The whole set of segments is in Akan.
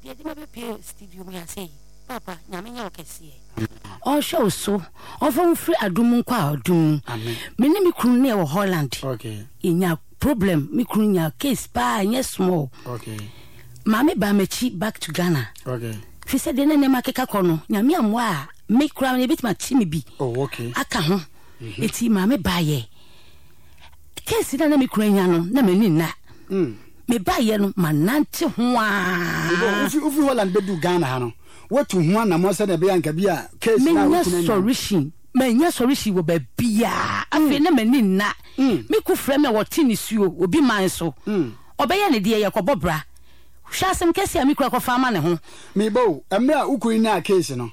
Deɛ ɛde me abɛpue studio mu ha sei, Paapa, Nyame nyɛ wo kɛseɛ. Ɔnhwɛ wo so, ɔmfa wo mfiri adom mu nkɔ adom mu. Me ne me kunu ne yɛwɔ Holland. Yɛnya problem, me kunu nya case paa, ɛnyɛ small. Maame baa m'akyi back to Ghana. Fi sɛ deɛ na nneɛma keka kɔ no, Nyame ammoa a, me koraa no yɛbɛtumi akye me bi oh, okay. aka ho. Mm-hmm. Eti maame baayɛ. Case na na me kunu anya no, na m'ani nna. Mm. Me baayɛ no, manante ho aa. Wofi Holland bɛdu Ghana ha no, woatu ho anammɔn sɛdeɛ ɛbɛyɛ anka bi a case na Menya solution. Manya solution wɔ baabiaa. Afei mm. na m'ani nna. Mm. Me ku frɛ me a wɔte nisuo, obi man so. Mm. Ɔbɛyɛ ne deɛ yɛkɔbɔ bra. Hwɛ asɛm kɛseɛ a me kura kɔfa ama ne ho. Meba o, mmerɛ a wo kunu nyaa case no,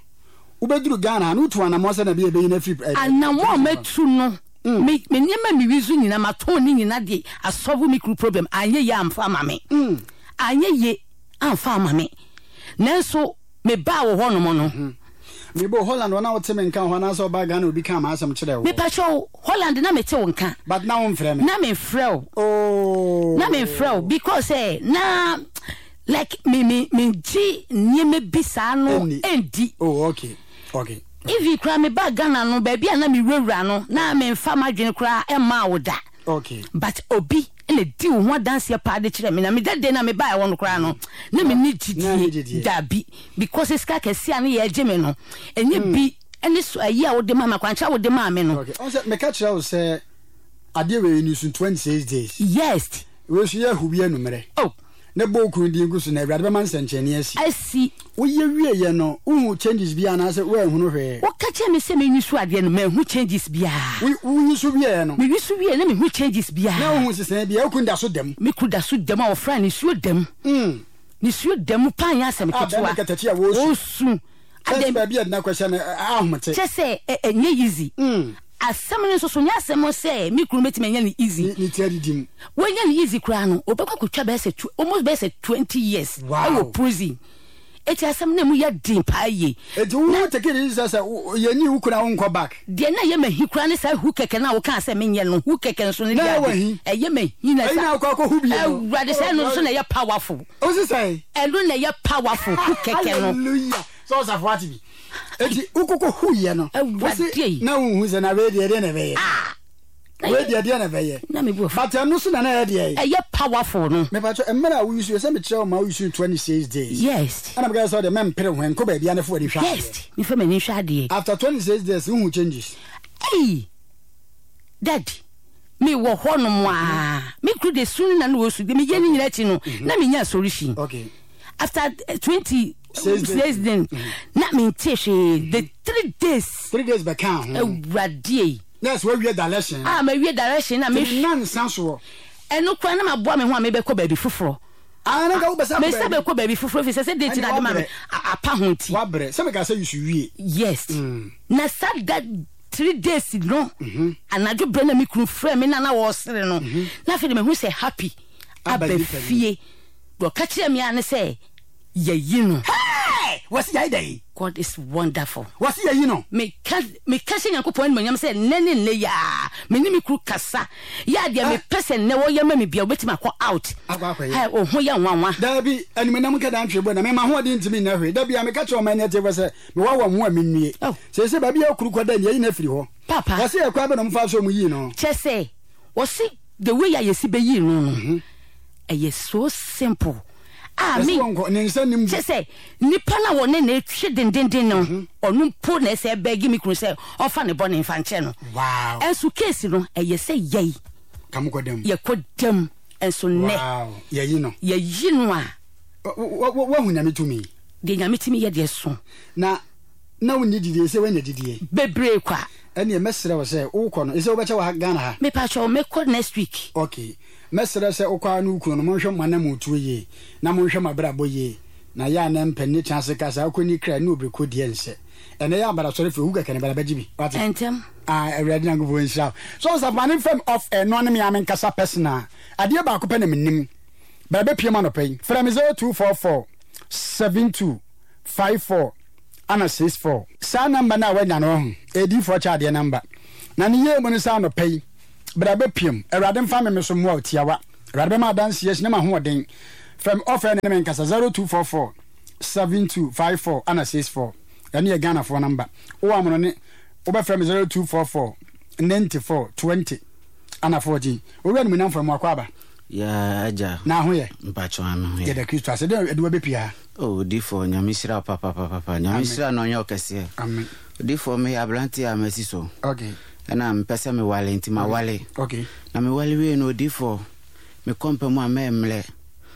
wobɛduru Ghana ha no wotuu anammɔn sɛdeɛ ɛbɛyɛ ɛbɛyi no afiri Anammɔn a matu no, me me nneɛma a mewi so nyinaa matɔn ne nyinaa de asɔlve me kunu problem, anyɛ yie amfa ama me. Anyɛ yie amfa ama me. Nanso mebaa wo hɔnom no. Meba o, Holland hɔ na wote me nka wɔ hɔ anaasɛ wobaa Ghana obi kaa m'asɛm kyerɛɛ wo? Mepakyɛ wo, Holland na mete wo nka. But na womfrɛ me? Na memfrɛ wo. Oh. Na memfrɛ wo because sɛ na like me me mengye nneɛma bi saa no ɛndi. Oh okay okay. Even koraa me baa Ghana no baabi a na me wurawura no na memfa m'adwene koraa ɛmmaa wo da. Okay. But obi na di wo ho adanseɛ paa de kyerɛ me na me da day na me baa ɛhɔ no koraa no na me ni gyidie dabi because sika kɛseɛ a ne yɛgye me no ɛnyɛ bi ɛne so ayi a wode maa me akwankyerɛ a wode maa me no. Okay ɔn sɛ meka kyerɛ wo sɛ adeɛ wei ni so 26 days. Yes. Wei so yɛ ahu bi anummerɛ. Oh. Ne bɔ okunu din gu so na awurade bɛma nsɛnkyerɛnne asi. Asi. Woyɛ wieɛ no wohu changes bi anaasɛ woanhunu hwee? Woka kyerɛ me sɛ menyi so adeɛ no manhu changes biara. Wo woyi so wieɛ no. Meyi so wieɛ na mehu changes biara. Na wohu nsesaeɛ biara okunu da so da mu. Me kunu da so da mu a wɔfra nisuo da mu. Mm. Nisuo da mu paa nyɛ asɛm ketewa. A bɛrima katakyi a wɔresu. Wɔresu. Kyɛ sɛ baabi a ɛde no akɔhyɛ no ahomete. Kyɛ sɛ ɛnyɛ easy. Asɛm no nso so nyɛ asɛm sɛ me kunu bɛtumi anya no easy. Ne ti adidi mu. Wanya no easy koraa no, ɔbɛkɔ akɔtwa bɛyɛ sɛ almost bɛyɛ sɛ 20 years ɛwɔ prison. Eti asɛm no emu yɛ den paa yie. Eti wo take it easy sɛ sɛ yɛnyi wo kunu a wonkɔ back. Deɛ na ɛyɛ m'ahi koraa ne saa hu kɛkɛ no a wokaa sɛ menyɛ no, hu kɛkɛ nso no deɛ ade, ɛyɛ m'ahi na sa. Awurade sɛ ɛno nso na ɛyɛ powerful. Osi sɛn? Ɛno na ɛyɛ powerful, hu kɛkɛ no. Hallelujah. Sɛ ɔsafo ate bi. Eti wokoko hu yɛ no. Awurade. Na wonhu sɛ na wei deɛ deɛ na ɛbɛyɛ. Ah. Wei deɛ deɛ na ɛbɛyɛ. Na me bu afu. But ɛno so na na ɛyɛ deɛ. Ɛyɛ powerful no. Mepakyɛ mmerɛ a woyi so yɛ sɛ mekyerɛ wo ma woyi so 26 days. Yes. Ɛna meka sɛ ɔdeɛ mɛmpere ho nkɔ baabi a ne fo ani hwɛ adeɛ. Yes. Mefa m'ani hwɛ adeɛ. After 26 days wohu changes. Hey. Daddy. Me wɔ hɔ nom aa. Me kuru de su ne na na wɔsu de meyɛ ne nyina akyi no na menya solution. Okay. After 26 days na mente hwee the 3 days. 3 days bɛka ho. Awurade. Nurse wawie direction. Ah mawie direction na me. Nansa soɔ. Ɛno koraa na maboa me ho a mebɛkɔ baabi foforɔ. Ah na nka wopɛ sɛ akɔ baabi. Mesa bɛkɔ baabi foforɔ fi sɛ sɛ date na ade ma me apa ho nti. Wabrɛ sɛ meka sɛ you should wie. Yes. Na sa da 3 days no anadwo berɛ na me kunu frɛ me na na wɔresere no na afei de mahu sɛ happy aba fie. Deɛ ɔka kyerɛ me ara ne sɛ yɛyi no. Hey! Wɔsi yɛayɛ dɛn? God is wonderful. Wɔsi yɛyi no. Meka meka hyɛ Nyankopɔn animuonyam sɛ nnɛ ne nnɛ yi ara me ne me kunu kasa yɛ a deɛ mepɛ sɛ nnɛ wɔyɛ ma me bia wobɛtumi akɔ out. Akɔ akɔyɛ. Hey, wo ho yɛ nwanwa. Daabi, animuonyam nka da ntwe bo na me m'ahoɔden ntumi nyɛ hwee. Da biara meka kyerɛ ɔman no atiefo sɛ mewɔ wɔn ho a minnue. Oh. Seesei baabi a okuru kɔda ni, yɛayi no afiri hɔ. Papa. Wɔsi ɛkwan bɛn na wɔfaa so wɔyii no? Kyerɛ sɛ wɔsi the way a yɛsi bɛyii no no. Ɛyɛ so simple a me kyɛ sɛ nipa no a wɔne no retwe dendenden no ɔno mpo na ɛsɛ bɛgi me kunu sɛ ɔmfa ne bɔne mfa nkyɛ no. Ɛnso case no ɛyɛ sɛ yɛi yɛkɔ dam ɛnso nnɛ yɛyi no yɛyi no a wahu Nyame tumi. Deɛ Nyame tumi yɛ deɛ so. Na na wonni didie sɛ woanya didie. Bebree kwa. Ɛneɛ mɛsrɛ wo sɛ wokɔ no ɛsɛ wobɛkyɛ wɔ ha Ghana ha. Mepakyɛw mɛkɔ next week. Okay. Mɛsrɛ sɛ wokɔ ara ne wo kunu no, monhwɛ mo anammɔntuo yie, na monhwɛ mo abrabɔ yie, na yɛ a na mpɛ ne tena ase ka saa kɔnni kra ne obiriko deɛ nsɛ. Ɛnnɛ yɛ abara sɔre firi owu kɛkɛ no bra bɛgye bi. Wate? Ntɛm. Ah, Awurade Nyankopɔn nhyira wo. So Ɔsafo ma ne mfam off air no ne me ara me nkasa personal. Adeɛ baako pɛ na menim. Bra bɛpiem anɔpa yi. Frɛ me 0244 72 54 ana 64. Saa number no a woanya no wahu, ɛyɛ diyifoɔ kyɛ adeɛ number. Na ne yie mu ne sɛ anɔpa yi, Bra bɛpiam. Awurade mfa me me so mmoa wo tiawa. Awurade bɛma adanseɛ asi na m'ahoɔden. Frɛ me off air ne me nkasa 0244. 72 54 ana 64. Ɛno yɛ Ghanafoɔ number. Wowɔ amonɔne wobɛfrɛ me 0244 94 20 ana 14. Owura Animuonyamfoɔ mo akɔ aba. Yaa agya. Na ho yɛ? Mpakyɛw ame ho yɛ. Yɛda Kristo ase. Dɛn ɛde wo abɛpie ha? Oh odifoɔ Nyame nhyira wo papapapapa. Nyame nhyira na ɔnyɛ wo kɛseɛ. Amen. Odifoɔ meyɛ abranteɛ a masi so. Okay. Ɛna mepɛ sɛ mewale nti mawale. Okay. Na mewale wie no odifoɔ mekɔ mpa mu a mɛmmerɛ.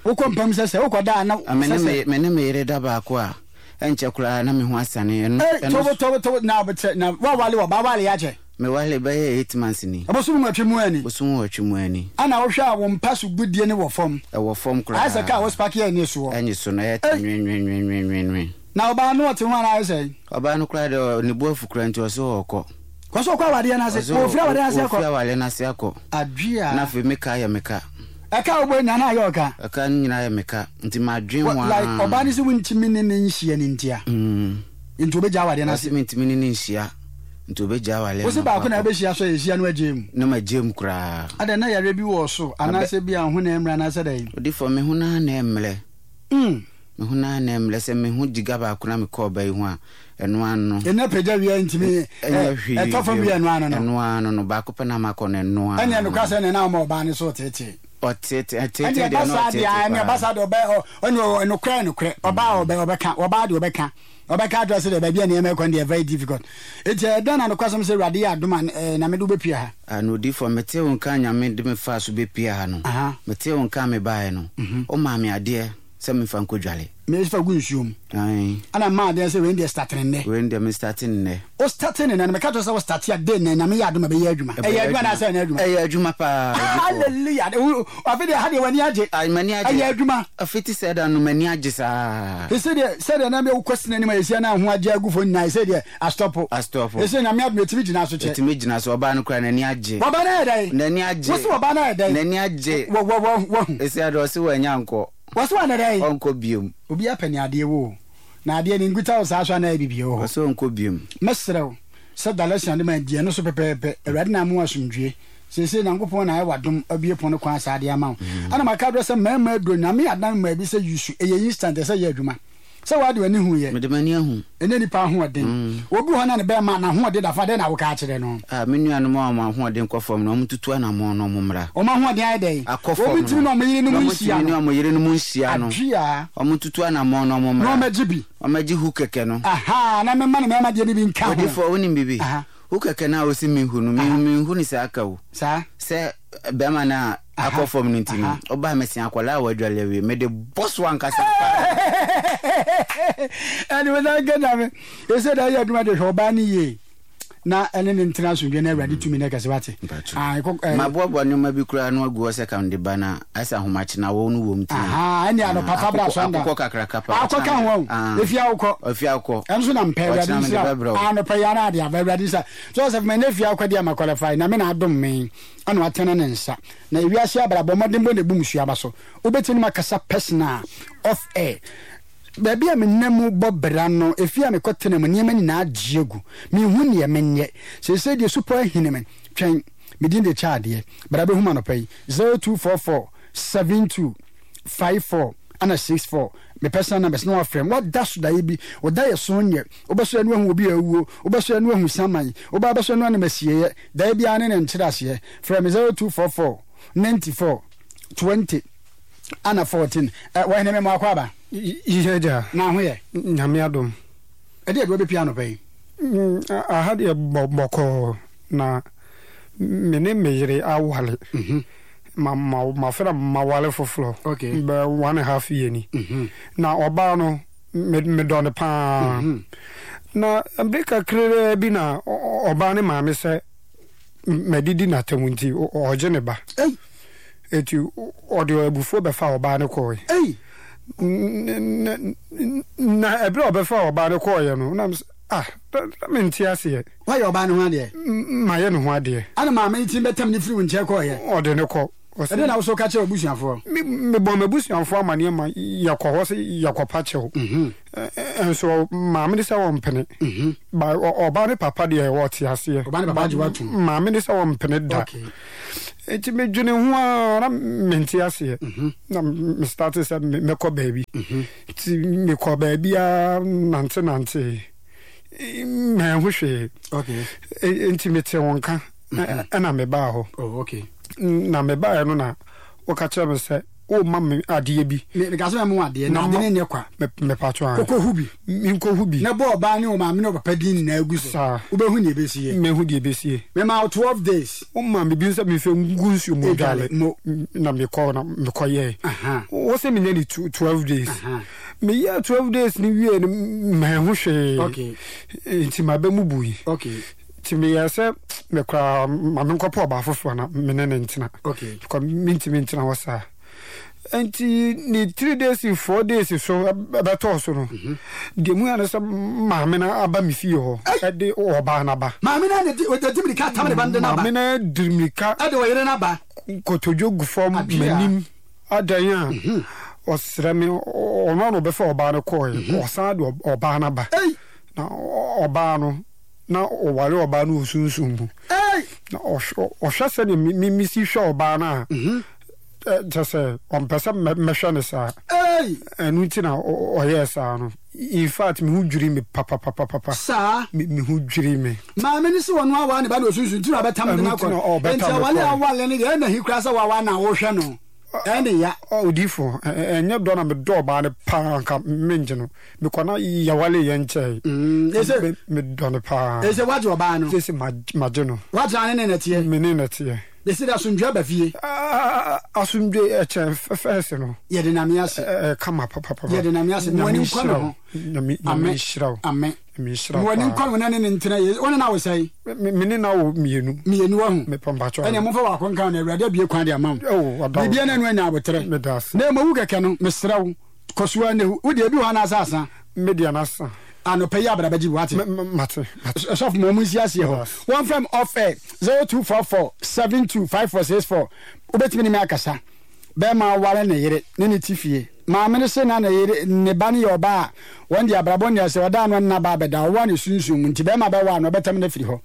Wokɔ mpa mu sɛ sɛ wokɔ da a na sɛ sɛ. Me ne me yere da baako a ɛnkyɛ koraa na me ho asane. Ɛno Ei tobo tobo tobo na na wawale wɔ ba wale akyɛ. Mewale bɛyɛ 8 months ni. Bosom nwɔtwe mu ani. Bosom nwɔtwe mu ani. Ɛna wohwɛ a wo mpa so gudie no wɔ fam. Ɛwɔ fam koraa. Ayɛ sɛ kaa a wospake a ɛnni soɔ. Ɛnni so no, ɛyɛ ta nwenwenwenwenwenwen. Na ɔbaa no ɔte ho anaa ayɛ sɛn? Ɔbaa no koraa deɛ ne bo afu koraa nti ɔse ɔɔkɔ. Ɔse ɔkɔ awadeɛ no ase? Ɔfiri awadeɛ no ase akɔ? Ɔfiri awadeɛ no ase akɔ. Adwea. Na afei me ka yɛ me ka. Ɛka a wobɔ nyinaa na ayɛ ɔka? Ɛka no nyinaa yɛ me ka nti madwen ho ara. Like ɔbaa no se wontumi ne no nhyia no ntia? Nti ɔbɛgya awadeɛ no ase? Ɔse mentumi ne no nhyia. Nti obegyaa awale Wo se no baako na akɔ. ɛbɛhyia so a yɛhyia no agyae mu? Na magyae mu koraa. Adɛn, na yareɛ bi wɔ wo so anaasɛ ebia wo ho na ɛmmrɛ anaasɛ dɛn? Odifoɔ, me ho no ara na ɛmmrɛ. Me ho no ara na ɛmmrɛ. Sɛ me ho gyiga baako na mekɔ ɔbaa yi ho a, ɛno ara no. Ɛnna pagya wie a ntumi Ɛnyɛ hwee ɛtɔ fam bio. wie a ɛno ara no no. Ɛno ara no no, baako pɛ na makɔ no, ɛno ara Ɛnneɛ no. nokorɛ sɛ ɛnneɛ na woma ɔbaa no so reteetee. Ɔteetee, ɛteetee Ɛnneɛ deɛ ɛba na saa deɛ ɔteetee a, ɛnneɛ ɛba paa. saa deɛ ɔbɛ, ɔ, ɛnneɛ nokorɛ nokorɛ, ɔbaa a ɔbɛ, ɔbɛka, ɔbaa deɛ ɔbɛka. Ɔbɛka akyerɛ sɛ deɛ baabi a nneɛma rekɔ no deɛ very difficult. Enti ɛyɛ dɛn na nokwasɛm sɛ Awurade yɛ adom a na mede wo bɛpue ha? Ah, na odiyifoɔ, metee wo nka a Nyame de me faa so bɛpue ha no, metee wo nka a mebaeɛ no, womaa me adeɛ sɛ memfa nkɔdwale. Mefa gu nsuo mu. Ae. Ɛna mmaa adeɛ sɛ wei deɛ starte no nnɛ. Wei deɛ me starte no nnɛ. Wo starte no nnɛ no, meka kyerɛ wo sɛ wo starte a, day nnɛ, Nyame yɛ adom a ɛbɛyɛ adwuma. Ɛyɛ adwuma anaasɛ ɛnyɛ adwuma? Ɛyɛ adwuma paa, odiyifoɔ. Hallelujah! Afei deɛ ha deɛ w'ani agye. Ae, m'ani agye. Ɛyɛ adwuma. Fiti sɛ da no m'ani agye saa. Sesei deɛ sɛdeɛ na wokɔ sini anim a yɛhyia na ho agye agu fam nyinaa sesei deɛ astɔpo. Astɔpo. Sesei Nyame adom ɛtumi gyina so kyɛ. Ɛtumi gyina so, ɔbaa no koraa n'ani agye. Ɔbaa no ayɛ dɛn? N'ani agye. Wose ɔbaa no ayɛ dɛn? N'ani agye. Wɔ wɔ wɔ wahu. Sesei deɛ ɔse wanya nkɔ. Wɔse wanyɛ dɛn? Ɔnkɔ biom. Obiara pɛ nea adeɛ wɔ o. Na adeɛ no nkuta wo saa so anaa biribi wɔ hɔ? Ɔse ɔnkɔ biom. Mɛsrɛ wo sɛ direction a wode ma di ɛno so pɛpɛɛpɛ. Awurade na ama wo asomdwoeɛ. Seesei Nyankopɔn na ayɛ w'adom abue pon no kwan saa de ama wo. Ɛna maka abrɛ sɛ mmarima aduro Nyame adan mmaa bi sɛ yusu ɛyɛ instant ɛsɛ yɛ adwuma. Sɛ w'ade w'ani hu yɛ. Mede m'ani ahu. Ɛnyɛ nipa ahoɔden. Obi wɔ hɔ na ne bɛɛma n'ahoɔden da fam adɛn na woka akyerɛ no? Ah me nuanom a wɔn ahoɔden kɔ fam no wɔn ntutu anamɔn na wɔn mmra. Wɔn ahoɔden ayɛ dɛn? Akɔ fam Wɔn no. ntumi ne wɔn yerenom Na wɔn nhyia ntumi ne no. wɔn yerenom nhyia no. Adwea. Wɔn ntutu anamɔn na wɔn mmra. Na wɔn agye bi. Wɔn agye hu kɛkɛ no. Ahaa na mema ne mmarima deɛ no bi nka ho. Odifoɔ wonim biribi? Aha. Wo kɛkɛ no a wose menhu no, me menhu no saa ka o. Saa. Sɛ bɛrima no a akɔ fam no nti no, ɔbaa me se akwadaa a wadwale awie, mede bɔ so ankasa paa. Ɛne wo san ka nyame. Ɛsɛ da yɛ adwuma de hwɛ ɔbaa no yie na ɛne ne ntena asomdwe na awurade tumi no kɛse wate. Maboaboa nneɛma bi koraa no agu hɔ sɛ ka mede ba no a, ayɛ sɛ ahomakye na awɔw no wom nti no. Ahaa, ɛnneɛ anɔpa fa bra sɔnda. Akokɔ kakraka paa. Akɔ ka ho ahu. Efie awokɔ. Efie awokɔ. Ɛno nso na mpɛ, Awurade Ɔkyena mede nhyira wo. bɛbrɛ wo. Anɔpa yi ara ade aba, Awurade nhyira. Joseph, manya efie awokɔ deɛ ma qualify, Nyame na adom me, ɛna watene ne nsa. Na ewiase abrabɔ, mmɔdenbɔ na ebu mmusua aba so. Wobɛtumi ne me akasa personal, off air. Baabi a menam mu bɔ bra no, efie a mekɔtena mu, nneɛma nyinaa agye agu. Menhu neɛ menyɛ. Seesei deɛ supɔ ahini me. Twɛn, me din de kyɛ adeɛ. Bra bɛhu me anɔpa yi. 0244 72 54 ɛna 64. Me personal numbers na wafrɛ me. Wada so daeɛ bi. Wo daeɛ so nyɛ. Wobɛsɔre no ahu obi a awuo. Wobɛsɔre no ahu saman. Wobaa bɛsɔre no anam asieeɛ. Daeɛ biara ne ne nkyerɛaseɛ. Frɛ me 0244 94 20 ɛna 14. Ɛ, wɔhene me mmoakɔ aba. Yɛ agya. Na ho yɛ. Nyame adom. Ɛdeɛ ɛde wabɛpia anɔpa yi? Aha deɛ bɔkɔɔ na me ne me yere awale. Ma ma mafɛ na mawale foforɔ. Okay. Bɛ 1½ year ni. Na ɔbaa no me medɔ no paa. Na bere kakraa bi na ɔbaa ne maame sɛ madidi n'atam nti ɔgye ne ba. Ei. Eti ɔde abufuo bɛfa ɔbaa no kɔe. Ei. Na ɛberɛ a ɔbɛfa ɔbaa no kɔeɛ no, na mesɛ, ah, na mente aseɛ. Woayɛ ɔbaa no ho adeɛ? Mayɛ ne ho adeɛ. Ɛna maame no tumi bɛtam no firi wo nkyɛn kɔeɛ? Ɔde no kɔ. Ɛdeɛn na wo nso woka kyerɛɛ w'abusuafoɔ? Mebɔɔ m'abusuafoɔ amaneɛ ma yɛkɔ hɔ sɛ yɛkɔpa kyɛw. Nso maame no sɛ ɔmpene. Ba ɔbaa no papa deɛ ɔte aseɛ. Ɔbaa no papa agye wo atom. Maame no sɛ ɔmpene da. Okay. Nti medwene ho ara na mente aseɛ. Na me starte sɛ mɛkɔ baabi. Nti mekɔ baabi ara nante nante manhu hwee. Nti mete wo nka ɛna mebaa hɔ. Oh, na mebaeɛ no na woka kyerɛ me sɛ woma me adeɛ bi. Meka sɛ mɛma wo adeɛ na ade no nyɛ kwa. Mepatwo a. Kɔkɔhu bi. Menkɔhu bi. Na bɔ ɔbaa ne ɔmaame ne ɔpapa din nyinaa gu so. Saa. Wobɛhu deɛ ɛbɛsie. Mɛhu deɛ ɛbɛsie. Mema wo 12 days. Woma me bi sɛ memfa ngu nsuo mu dwale. Mo. Na mekɔ na mekɔyɛɛ. Wo sɛ menyɛ ne 12 days. Meyɛɛ 12 days no wie no manhu hwee. Okay. Nti maba mu bui. Okay. Nti meyɛɛ sɛ me koraa ma menkɔpɛ ɔbaa foforɔ na me ne no ntena. Okay. Because mentumi ntena hɔ saa. Nti ne 3 days 4 days so ɛbɛtɔɔ so no, deɛ mu yɛ ne sɛ maame no aba me fie hɔ ɛde ɔbaa no aba. Maame no de ɔde mirika tam ne ba no de no aba. Maame no de mirika. Ɛde ɔyere no aba. Kotodwe gu fam m'anim adan a ɔsrɛ me ɔno na ɔbɛfa ɔbaa no kɔɔɛ ɔsan de ɔbaa no aba. Na ɔbaa no na ɔware ɔbaa no wɔ sunsum mu. Na ɔhwɛ sɛdeɛ mesi hwɛ ɔbaa no a, kyerɛ sɛ ɔmpɛ sɛ mɛhwɛ no saa. Ɛno nti na ɔyɛɛ saa no. In fact, me ho dwiri me papapapapa. Saa. Me ho dwiri me. Maame no sɛ ɔno aware ne ba no wɔ sunsum nti na ɔbɛtam de no akɔ. Nti aware a ɔware no deɛ ɛna hi koraa sɛ waware na wohwɛ no. Ɛne ya. Odifo, ɛnyɛ dɔ na medɔ ɔbaa no paa nka mengye no. Mekɔ na yɛwale yɛn nkyɛe. Mm, ese. Medɔ no paa. Ese wagye ɔbaa no. Sese magye no. Wagye ne ne na teɛ. Me ne na teɛ. Besi de asomdwe aba fie. Asomdwe ɛkyɛn fɛs no. Yɛde Nyame ase. Ɛɛ kama papapapa. Yɛde Nyame ase. Mo ani nkɔ ne ho. Nyame nhyira wo. Amen. Nyame nhyira wo. Mo ani nkɔ ne ho na ne ne ntena yie. Wo ne no awo sɛn? Me ne no awo mmienu. Mmienu wahu. Mepɛ mpakyɛw. Ɛnna momfa baako nka ho na Awurade abue kwan de ama wo. Oh, wada wo. Biribiara na ɛno anya aboterɛ. Meda ase. Na mmom wu kɛkɛ no, mesrɛ wo. Kɔ so ara na hu. Wo deɛ, ebi wɔ hɔ anaasɛ asa? Me deɛ no asa. Anɔpa yi abra bɛgye bi, wate? Mate, mate. Sɔfo ma wɔn nsi aseɛ hɔ. Wɔmfrɛ me off air, 0244 72 5464. Wobɛtumi ne me akasa. Bɛrima aware ne yere ne ne te fie. Maame no se na ne yere, ne ba no yɛ ɔbaa a wɔn deɛ abrabɔ nni ase, ɔda ano nna ba abɛda, ɔwɔ ne sunsum mu nti bɛrima bɛwɔ ano ɔbɛtam no afiri hɔ.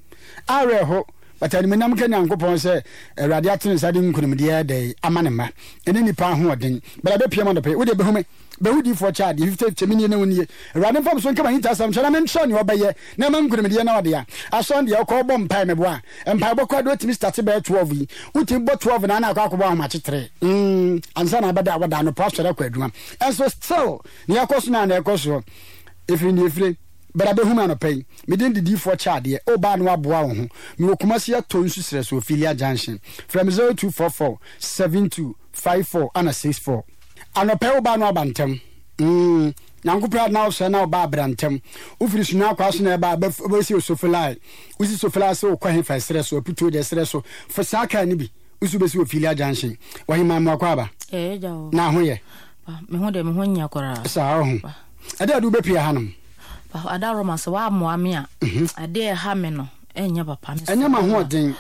Awerɛho, but animuonyam nka Nyankopɔn sɛ Awurade ato ne nsa de nkunimdie ɛdɛn ama ne mma ɛne nnipa ahoɔden. Bra bɛpia mu anɔpa yi, wodeɛ bɛhu me, bɛhu diifoɔ kyɛ adeɛ, 50 kyɛ menie na wonie. Awurade mfa me so nka m'ahintasɛm nkyerɛ na menkyerɛ nea ɔbɛyɛ na ɛma nkunimdie na ɔde a. Asɔre deɛ wokɔ wobɔ mpae meboa a, mpaebɔ koraa deɛ wotumi starte bɛyɛ 12 yi, wotumi bɔ 12 na na akɔ akɔbɔ ahomakye 3 mm, ansa na abɛda a wɔda anɔpa asɔre akɔ adwuma. Ɛnso still nea ɛkɔ so no a na ɛkɔ soɔ. Ɛfiri nea ɛfire. Bra bɛhu me anɔpa yi. Me din de Diifoɔ Kyɛadeɛ. O baa na woaboa wo ho. Mewɔ Kumasi Atɔ Nsu Serɛ so, Ophelia Junction. Frɛ me 0244 72 54 ana 64. Anɔpa yi wo baa na woaba ntɛm. Mm, Nyankopɔn ade na wosɔre na wo baa bra ntɛm. Wofiri Sunyani Akwaa so na ɛba a, wobɛsi Osofelae. Wosi Sofelae sɛ wokɔ hefa? Ɛserɛ so, Aputuo deɛ serɛ so. Fa saa kaa no bi. Wosi wobɛsi Ophelia Junction. Ɔhemaa Mmoakɔ aba. Ɛɛ, agya o. Na ho yɛ? Me ho deɛ, me ho nyɛ koraa. Saa, ɔho. Ɛdeɛ ade wobɛpue hanom? Papa Adaworoma sɛ woammoa me a, adeɛ a ɛha me no ɛnyɛ papa. Mesrɛ Ɛnyɛ wo a, m'ahoɔden.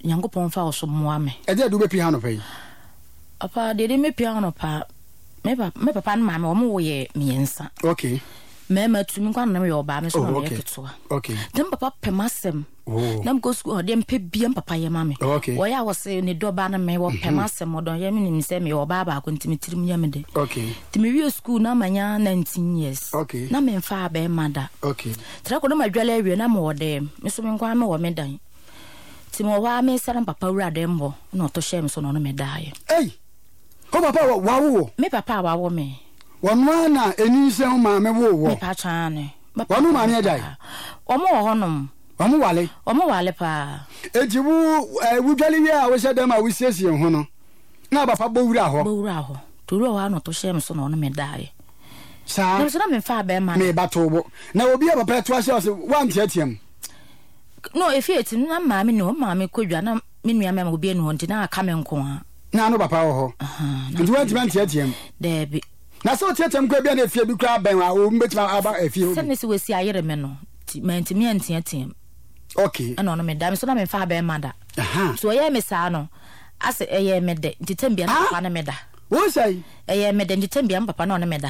Nyankopɔn mfa wo so mmoa me. Ɛdeɛ ade wobɛpue ha anɔpa yi? Papa, deɛ ɛde mɛpue ha anɔpa, me papa, me papa ne maame wɔn wo yɛ mmiɛnsa. Okay. Mmarima tu, me nko ara na meyɛ ɔbaa, me nso na Oh, meyɛ okay. ketewa. Okay. Nti me papa pɛ m'asɛm. Oh. Na mekɔ sukuu ɔdeɛ mpɛ bia me papa yɛ ma me. Oh, okay. Wɔyɛ a wɔse ne dɔba no me wɔpɛ mm -hmm. m'asɛm ɔdɔ yɛ menim sɛ meyɛ ɔbaa baako nti me tirim yɛ me de. Okay. Nti mewie sukuu na manya 19 years. Okay. Na memfa abɛɛma da. Okay. Tra kɔ na madwale awie na mewɔ dɛm. Me so me nko ara mewɔ me dan. Nti mewɔ hɔ a mesɛ na papa wura dɛm hɔ na ɔto hyɛɛ me so na ɔno me daeɛ. Ei! Wo papa wawo wo? Me papa a wawo me. Wɔno ara na enyinsɛn wo maame woo wɔ? Me pa kyɛw aane. Wɔn maame agyae? Wɔn wɔ hɔ nom. Wɔn wale? Wɔn wale paa. Enti wo eh, wodwale wie a wohyɛ dɛm a wosiesie ho no, na papa bɔ wura hɔ? Bɔ wura hɔ. Nti owura hɔ a na ɔto hyɛɛ me so na ɔne me daeɛ. Saa. Na me so na memfaa bɛrima no. Me ba too bo. Na obi a papa ɛto ahyɛ ɔse woanteatea mu? No, efie ti no na maame ni hɔ, maame kɔ dwa na me nua mmarima obi ani hɔ nti na aka me nko ara. Na ano papa wɔ hɔ. Nti woantumi anteatea mu? Daabi. Na sɛ woteatea mu koraa bi a na efie bi koraa bɛn a obi bɛtumi aba efie hɔ bi. Sɛ ne sɛ wɔasi ayere me no nti mantumi anteatea mu. Okay. Ɛna ɔno meda me so na memfa abɛɛma da. Nti ɔyɛɛ me saa no asɛ ɛyɛɛ me dɛ nti tɛm bia na papa ne me da. Wo sɛn? Ɛyɛɛ me dɛ nti tɛm bia me papa na ɔne me da.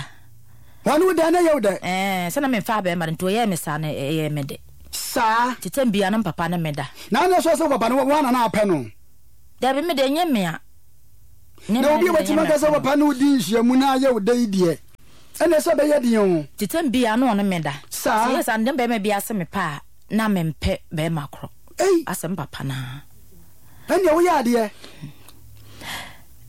Wɔne wo da na ɛyɛ wo dɛ? Ɛɛ sɛ na memfa abɛɛma da nti ɔyɛɛ me saa no ɛyɛɛ me dɛ. Saa. Nti tɛm bia na me papa ne me da. Na ɛnyɛ sɛ wo papa no woana na apɛ no? Dabi, me deɛ ɛnyɛ me a. Na obi a watumi aka sɛ papa ne wo di nhyiamu na ayɛ wo dɛ yi deɛ, ɛnna ɛsɛ bɛyɛ den o. Nti tɛm biara na ɔne me da. Saa. Sɛ yɛ saa no, deɛ bɛrima biara se mepɛ a, na mempɛ bɛrima korɔ. Ei! Asɛ me papa no ara. Ɛnneɛ woyɛ adeɛ.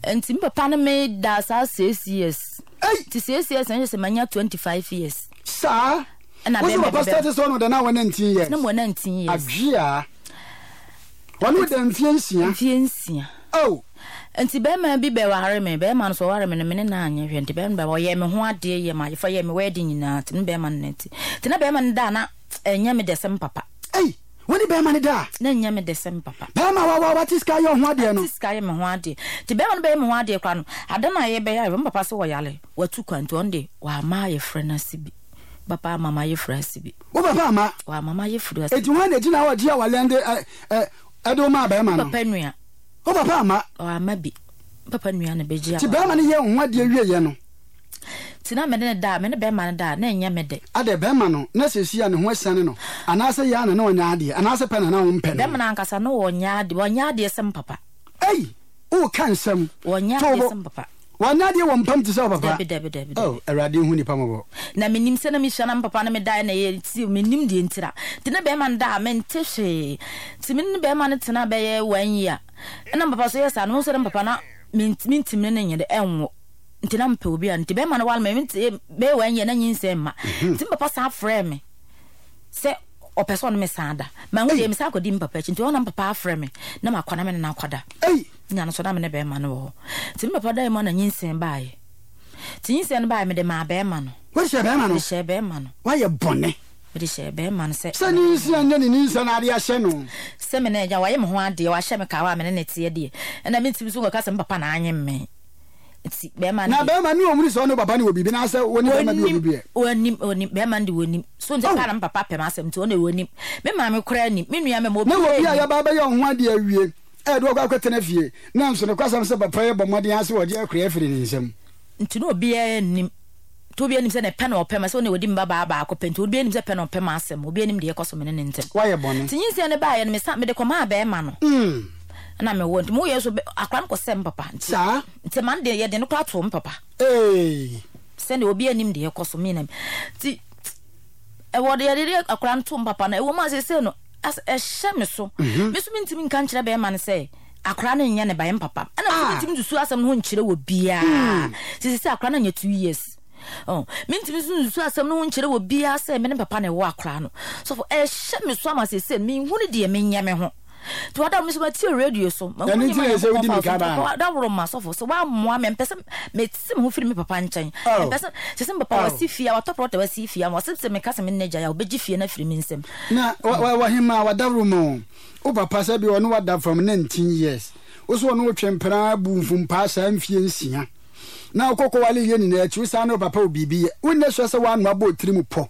Nti me papa ne me da saa 6 years. Ei! Nti 6 years na kyerɛ sɛ manya 25 years. Saa. Ɛna Wo sɛ bɛrima papa bi bɛ. start sɛ ɔno da na wɔ 19 years. Na mewɔ 19 years. Adwea. Ɔne wo da mfie nsia. Mfie nsia. Oh! Nti bɛrima bi bɛware me, bɛrima no so ɔware me no, me ne no anyɛ hwɛ. Nti bɛrima no bɛ ɔyɛɛ me ho adeɛ, yɛ m'ayefa, yɛɛ me wedding nyinaa. Nti me ne bɛrima no nante. Nti na bɛrima no da a na ɛnyɛ me dɛ sɛ me papa. Ei! Wo ne bɛrima no da a? Na ɛnyɛ me dɛ sɛ me papa. Bɛrima wa wa wate sika ayɛ wo ho adeɛ no? Ate sika ayɛ me ho adeɛ. Nti bɛrima no bɛyɛ me ho adeɛ koraa no, ada no a yɛbɛyɛ ayeforɔ, me papa se ɔyare, watu kwan nti ɔno deɛ wamma ayefrɛ no ase bi. Me papa amma m'ayefrɛ ase bi. Wo papa amma? Wamma m'ayefrɛ ase bi. Enti hwan na egyina hɔ gye awale de ɛ ɛ ɛde wo maa bɛrima no? Me papa nua. Wo papa amma? Wamma bi. Me papa nua na bɛgye Nti awale. bɛrima no yɛɛ wo ho adeɛ wieeɛ no? Nti na me ne no da a, me ne bɛrima no da a, na ɛnyɛ me dɛ. Adɛn, bɛrima no, na seesei a ne ho asiane no, anaasɛ yɛ a na na ɔnyɛ adeɛ, anaasɛ pɛ na na wompɛ no? Bɛrima no ankasa, na ɔnyɛ adeɛ, ɔnyɛ adeɛ sɛ me papa. Ei! Woreka nsɛm. Ɔnyɛ To adeɛ bo. sɛ me papa. Wanyɛ adeɛ wɔ mpam te sɛ wo papa. Dabi, dabi, dabi, dabi. Oh, Awurade nhu nnipa mmɔbɔ. Na menim sɛ na mesua na me papa ne me daeɛ na ɛyɛ nti mennim deɛ ntira. Nti ne bɛrima no da a mente hwee. Nti me ne bɛrima no tena bɛyɛ one year. Ɛna me papa so yɛ saa no, mehu sɛ na me papa na mentumi ne no nyɛ dɛ ɛnwo. Nti na mepɛ obi a nti bɛrima no ware me nti bɛyɛ one year na nyinsɛn mma. Nti me papa san frɛɛ me sɛ ɔpɛ sɛ ɔne me san da. Manhu deɛ mesan kɔdi me papa akyi nti ɔno na me papa afrɛ me na makɔ na me ne no akɔda. Nya no so na me ne bɛrima no wɔ hɔ. Nti me papa dae mu a na nyinsɛn baeɛ. Nti nyinsɛn no baeɛ mede maa bɛrima no. Wode hyɛɛ bɛrima no? Mede hyɛɛ bɛrima no. Woayɛ bɔne. Mede hyɛɛ bɛrima no sɛ. Sɛ nyinsɛn nyɛ ne nyinsɛn na ade ahyɛ no. Sɛ me ne agya wayɛ me ho adeɛ wahyɛ me kawa a me ne no teɛ deɛ ɛna mentumi nso nkɔka sɛ me papa na anyem me. Nti bɛrima no Na deɛ. bɛrima no ɔhunu sɛ ɔne wo papa no wɔ biribi anaasɛ wo ne bɛrima bi wɔ Wɔnim, biribi ɛ? wɔnim, wɔnim, bɛrima no de wɔnim. So nti Oh! paa na me papa pɛ m'asɛm nti ɔno deɛ wɔnim. Me maame koraa nim, me nua mmarima Na obiara obi a nim. yɛaba abɛyɛ wo ho adeɛ awie a yɛde wo akɔ akɔtena fie, nanso nokwasɛm sɛ papa yi bɔ mmɔden ara sɛ ɔgye akura afiri ne nsam. Nti na obiara nnim. Nti obiara nim sɛ ne pɛ na ɔpɛ ma, sɛ ɔne ɔdi me babaa baako pɛ nti obiara nim sɛ pɛ na ɔpɛ m'asɛm, obiara nim deɛ ɛkɔ so me ne ne ntam. Woayɛ bɔne. Nti nyinsɛn no baeɛ no mesan mede kɔmaa barima no. Ɛna mewɔ nti meyɛ nso akwadaa no kɔsɛɛ me papa nti. Saa? Nti ma no deɛ yɛde no koraa too me papa. Eei. Sɛdeɛ obiara nim deɛ ɛkɔ so me na nti ɛwɔ deɛ yɛde akwadaa no too me papa no ɛwɔ mu a seesei no as ɛhyɛ me so. Me nso mentumi nka nkyerɛ bɛrima no sɛ akwadaa no nyɛ ne ba, ɛyɛ me papa. Ɛna me nso mentumi nsusu asɛm no ho nkyerɛ wɔ biara. Sisi sɛ akwadaa no anya 2 years. Oh, mentumi nso nsusu asɛm no ho nkyerɛ wɔ biara sɛ me ne papa na ɛwɔ akwadaa no. Sɔfo, ɛhyɛ me so ama seesei menhunu deɛ menyɛ me ho. Nti wada me so matie radio so. Mahu Ɛno nti nneɛma na ɛsɛ wodi Nyankopɔn fa mirika so. baa no. Wada woro ma sɔfo sɛ woammoa me mpɛ sɛ mete me ho firi me papa nkyɛn. Oh. Mpɛ sɛ sɛ sɛ me papa Oh. wasi fie a watɔ prɔta wasi fie ama wɔsɛ sɛ meka sɛ me ne n'agya yɛ a ɔbɛgye fie no afiri me nsam. Na wahema wadaworo mu wo papa sɛ bi ɔne wada from 19 years wo so ɔne wo twe mpena bu mfumpaa saa mfie nsia na wokɔkɔ wale yɛ nyinaa akyi wo saa ne wo papa wɔ biribi yɛ wonyɛ sure sɛ woano abɔ otiri mu pɔ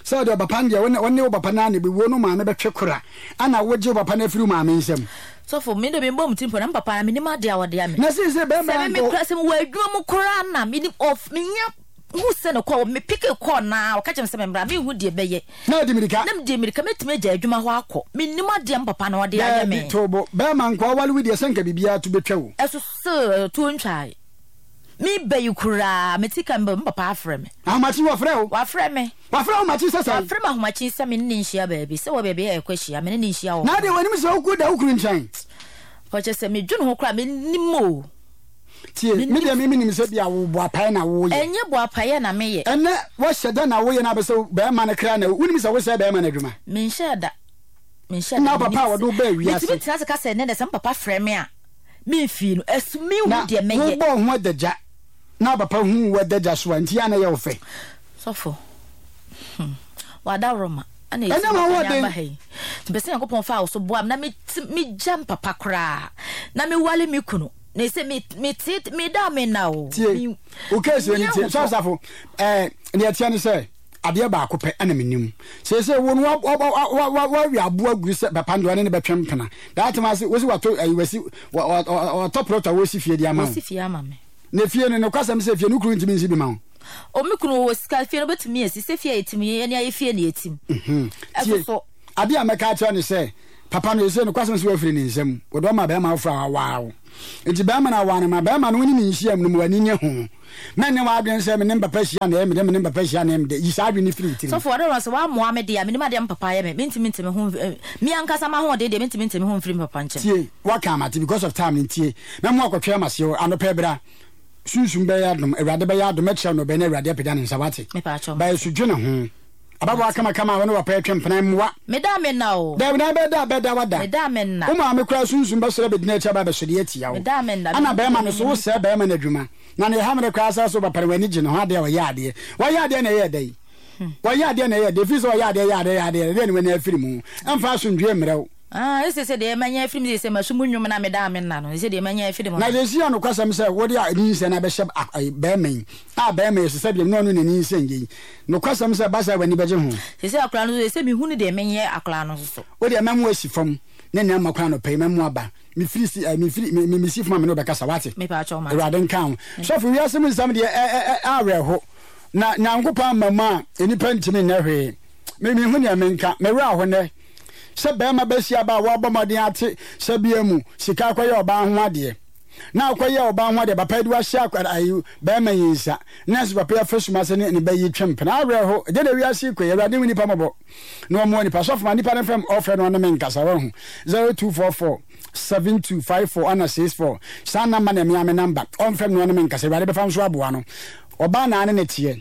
sɛ ɔde ɔpapa no deɛ wo ne wo papa no ana bɛwuo no maame bɛtwe kora ana wogye wo papa no afiri wo maame nsam. Sɔfo, me de mebɔ me tirim pɔ na me papa menim adeɛ a ɔde ame. Na seesei bɛrima Sɛ me nkɔ. kura sɛ mewɔ adwuma mu koraa na menim of menya hu sɛ ne kɔ me peke kɔɔ na ɔka kyerɛ me sɛ memmra menhu deɛ bɛyɛ. Na ɔde mirika. Na mede mirika mɛtumi agya adwuma hɔ akɔ menim adeɛ me papa na ɔde ayɛ me. Daabi tobo bɛrima nkɔ awale wo deɛ sɛ nka biribiara to bɛtwa wo. Ɛso sɛ tuo ntwae. Me ba yi koraa me ti ka me papa afrɛ me. Ahomakye wɔfrɛ wo. Wafrɛ me. Wafrɛ ahomakye sɛ sɛn? Wafrɛ me ahomakye sɛ me ne ne nhyia baabi sɛ wɔ baabi a yɛkɔ ahyia me ne ne nhyia wɔ. Na adeɛ w'anim sɛ wokɔ da wo kunu nkyɛn. Ɔkyɛ sɛ medwene ho koraa menim o. Tie me deɛ me menim sɛ bi a wo boapaeɛ na woyɛ. Ɛnyɛ boapaeɛ na meyɛ. Ɛnɛ wahyɛ da na woyɛ na abɛ sɛ bɛrima no kra na wonim sɛ wosɛe bɛrima no adwuma. Menhyɛɛ da. Menhyɛɛ da. Na papa a wɔde wo baa wiase. Metumi tena ase ka sɛ ɛnɛ dɛ sɛ me papa frɛ me a. Memfii no, ɛso menhu Na deɛ mɛyɛ. wobɔɔ ho adagya, na papa huu wo adagya so a, nti a na ɛyɛ wo fɛ. Sɔfo, hmm, w'adaworoma ɛna ɛsi Ɛnyɛ m'akwan m'ahoɔden. aba ha yi. Nti mepɛ sɛ Nyankopɔn fa wo so boa me na meti megya me papa koraa na mewale me kunu. Na ɛsɛ me mete meda a menna o. Tie, Me wo case wei menni no tie. ahotɔ. Sɔfo Safo, ɛɛ, deɛ ɛteɛ ne sɛ, adeɛ baako pɛ ɛna menim. Seesei wo no wawe aboa gu sɛ papa no deɛ ɔne ne bɛtwe mpena. That time ase wosi wato ayi wasi watɔ plot a wɔsi fie de ama wo. Wɔsi fie ama me. Na fie no nokwasɛm sɛ fie no kunu ntumi nsi bi ma wo. O me kunu wɔ sika fie no obetumi asi sɛ fie a yɛtim yɛn ani ayɛ fie na yɛtim. Mhm. Ɛso so. Adeɛ a mɛka akyerɛ ne sɛ. Papa no ɛsei nokwasɛm sɛ wafiri ne nsam, wɔde ɔma bɛrima foforɔ a wawaa wo. Nti bɛrima no awaa no ma bɛrima no wo ne ne nhyiam no ma w'ani nye ho. Mɛnyɛ w'adwene sɛ me ne me papa hyia na ɛyɛ me dɛ, me ne me papa hyia na ɛyɛ me dɛ. Yi saa adwene no firi wo tirim. Sɔfo, ɔdɔ sɛ w'ammoa me deɛ a, menim adeɛ a me papa ayɛ me. Mentumi nte me ho, me ankasa m'ahoɔden deɛ, mentumi nte me ho mfiri me papa nkyɛn. Tie, woaka mate because of time no ntie. Mɛma woakɔtwɛn m'aseɛ hɔ anɔpa yi bra. Sunsum bɛyɛ adom, Awurade bɛyɛ adom, mɛkyerɛ wo nea ɔbɛyɛ na Awurade apagya ne nsa, woate? Mepaakyɛw, Ba mate. so dwene ho. Ababaawa kamakama a wo ne w'apa retwe mpena mmoa. Meda a menna o. Dabi na bɛda a bɛda wada. Meda a menna. Wo maame koraa sunsum bɛsɔre abɛgyina akyi aba abɛsɔre atia wo. Meda a menna. Ɛna bɛrima no so wosɛe bɛrima no adwuma. Na nea ɛha me no koraa sɛ sɛ wobɛpɛ no w'ani gye ne ho adeɛ a ɔyɛ adeɛ. Wayɛ adeɛ na ɛyɛɛ dɛn? Wayɛ adeɛ na ɛyɛɛ dɛn? Ɛfiri sɛ ɔyɛ adeɛ yɛ adeɛ yɛ adeɛ ɛdeɛ na w'ani afiri mu. Ɛmfa asomdwoeɛ mmerɛ wo. Ah, ese sɛ deɛ manya afiri mu sɛ masu mu nnwom na meda a menna no, ese deɛ manya afiri mu Na no. seesei a nokwasɛm sɛ wode a nyinsɛn no abɛhyɛ bɛrima yi a bɛrima yi so sɛ deɛ ne ɔno na nyinsɛn yei. Nokwasɛm sɛ ɛba saa a w'ani bɛgye ho. Seesei akwadaa no nso ese mehunu deɛ menyɛ akwadaa no nso so. Wo deɛ mɛmo asi fam ne nea mma kwan anɔpa yi mɛmo aba. Mefiri si eh, mefiri me me mesi fam a me ne wo bɛkasa wate. Mepaakyɛw mate. Awurade nka ho. Sɔfo wiase mu nsɛm deɛ ɛ ɛ ɛ awerɛho. Na Nyankopɔn amma mu a nnipa ntumi nyɛ hwee. Me menhu nea menka. Me werɛ aho nnɛ. Sɛ barima bɛsi aba a wabɔ mmɔden ate sɛbea mu sika akɔyɛ ɔbaa ho adeɛ. Na akɔyɛ ɔbaa ho adeɛ papa yi de wahyɛ akwadaa ayi barima yi nsa. Nanso papa yi afa sum ase ne ne ba yi twe mpena. Awerɛho. Ɛdeɛ na wiase yi kɔ yi. Awurade hu nnipa mmɔbɔ. Na ɔmmoa nnipa. Sɔfo ma nnipa no mfrɛ me ɔfrɛ no ɔne me nkasa wahu. 0244 72 54 ana 64 saa namba na ɛmea me namba. Ɔmfrɛ me na ɔne me nkasa. Awurade bɛfa nso aboa no. Ɔbaa naa ne ne teɛ.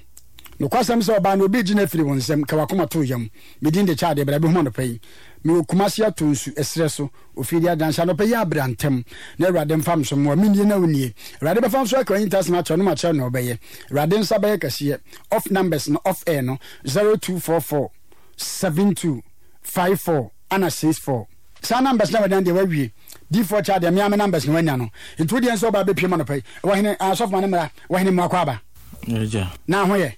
Nokwasɛm sɛ ɔbaa no obi regye no afiri wo nsam, ka w'akoma to wo yam. Me din de Kyade, bra bɛhu me anɔpa yi. Mewɔ Kumasi atɔ nsu, ɛserɛ so, ofie de adanse. Anɔpa yi ara bra ntɛm, na Awurade mfa me so mmoa. Mennie na wonnie. Awurade bɛfa me so aka w'ahintasɛm akyerɛ wo na makyerɛ wo nea wobɛyɛ. Awurade nsa bɛyɛ kɛseɛ. Off numbers no, off air no, 0244 72 54 ana 64. Saa numbers na wanya no deɛ wawie. Difoɔ kyɛ adeɛ, me ara me numbers na wanya no. Nti wo deɛ nso ɔba abɛpue mu anɔpa yi. Wɔ hene, ah, sɔfo ma no mmra. Wɔ hene mmoa kɔ aba. Agya. Na ho yɛ.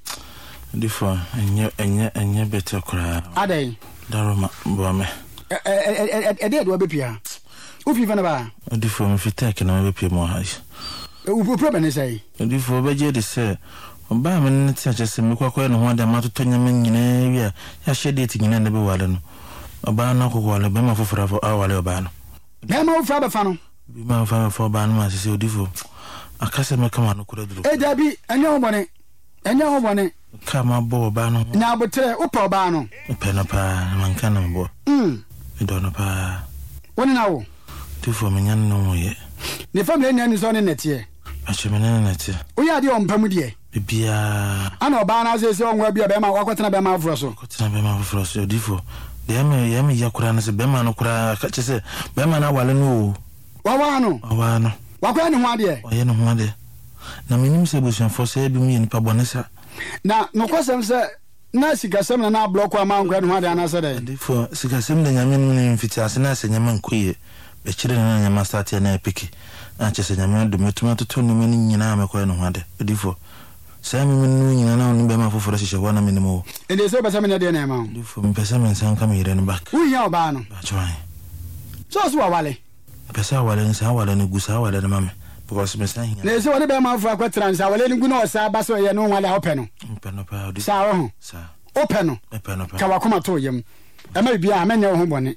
Difoɔ, ɛnyɛ, ɛnyɛ, ɛnyɛ better koraa. Adɛn? Daroma, boa me. Ɛ, ɛ, ɛ, ɛ, ɛdeɛ de wabɛpue ha? Wofi fa no baa? Difoɔ, mefi Turkey na mabɛpue mu wɔ ha yi. Wo problem ne sɛn? Odiyifoɔ, wobɛgye adi sɛ ɔbaa a me ne no te akyɛ sɛ mekɔ akɔyɛ ne ho ade a matotɔ nneɛma nyinaa awie a yɛahyɛ date nyinaa na ɛbɛware no, ɔbaa no akɔkɔware barima foforɔ aware ɔbaa no. Barima foforɔ abɛfa no. Barima foforɔ abɛfa ɔbaa no ma sese odiyifoɔ, aka sɛ mɛka m'ano koraa aduru koraa. Dabi, ɛnyɛ ho bɔne, ɛnyɛ ho bɔne. Ka mabɔ ɔbaa no ho. Nya aboterɛ, wopɛ ɔbaa no? Mepɛ no paa, na manka no meboa. Medɔ no paa. Wo ne no awo? Odiyifoɔ, menya ne no nwoeɛ. Ne family nyinaa nim sɛ ɔne no na ɛteɛ. Mekyɛ me ne no na ɛte. Woyɛ adeɛ wɔ mpa mu deɛ. Biribiara. Ana ɔbaa no ase sɛ ɔnwa bi a bɛrima wakɔtena bɛrima afoforɔ so. Wakɔtena bɛrima afoforɔ so odiyifoɔ. Deɛ ɛyɛ me ɛyɛ me ya koraa ne sɛ bɛrima no koraa ka kyerɛ sɛ bɛrima no aware no oo. Wawaa no. Wawaa no. Wakɔyɛ ne ho adeɛ. Wayɛ ne ho adeɛ. Na menim sɛ abusuafoɔ sɛ ebinom yɛ nipa bɔne sa. Na nokwasɛm sɛ na sikasɛm na na ablɔko ama ankɔyɛ ne ho adeɛ anaasɛ dɛn? Odiyifoɔ, sikasɛm deɛ Nyame nim no mfitiase na sɛ nneɛma nkɔ yie. Bɛkyerɛ no na nneɛma start yɛ na ɛpeke a kyerɛ sɛ Nyame adom mɛtumi atotɔ nneɛma no nyinaa a mɛkɔyɛ ne ho ade. Odiyifoɔ, saa me mene no nyinaa na wo ne bɛɛma foforɔ hyehyɛ hɔ a na menim wo. Ɛndeɛ sɛ wopɛ sɛ menyɛ deɛ na ɛma wo. Odiyifoɔ, mepɛ sɛ me nsa nka me yere no back. Wohia ɔbaa no? Mpakyɛw ahe? Sɛ ɔse wawale. Mepɛ sɛ awale no saa awale no gu saa awale no ma me because me san hia. Na ɛsɛ ɔne bɛɛma foforɔ akɔtena no sɛ awale no gu na ɔsan ba sɛ ɔyɛ ne ho ade a wopɛ no? Mepɛ no paa odiyifoɔ. Saa woho? Saa. Wopɛ no? Mepɛ no paa. Ka w'akoma to wo yam. Ɛma biribiara, mɛnyɛ wo ho bɔne.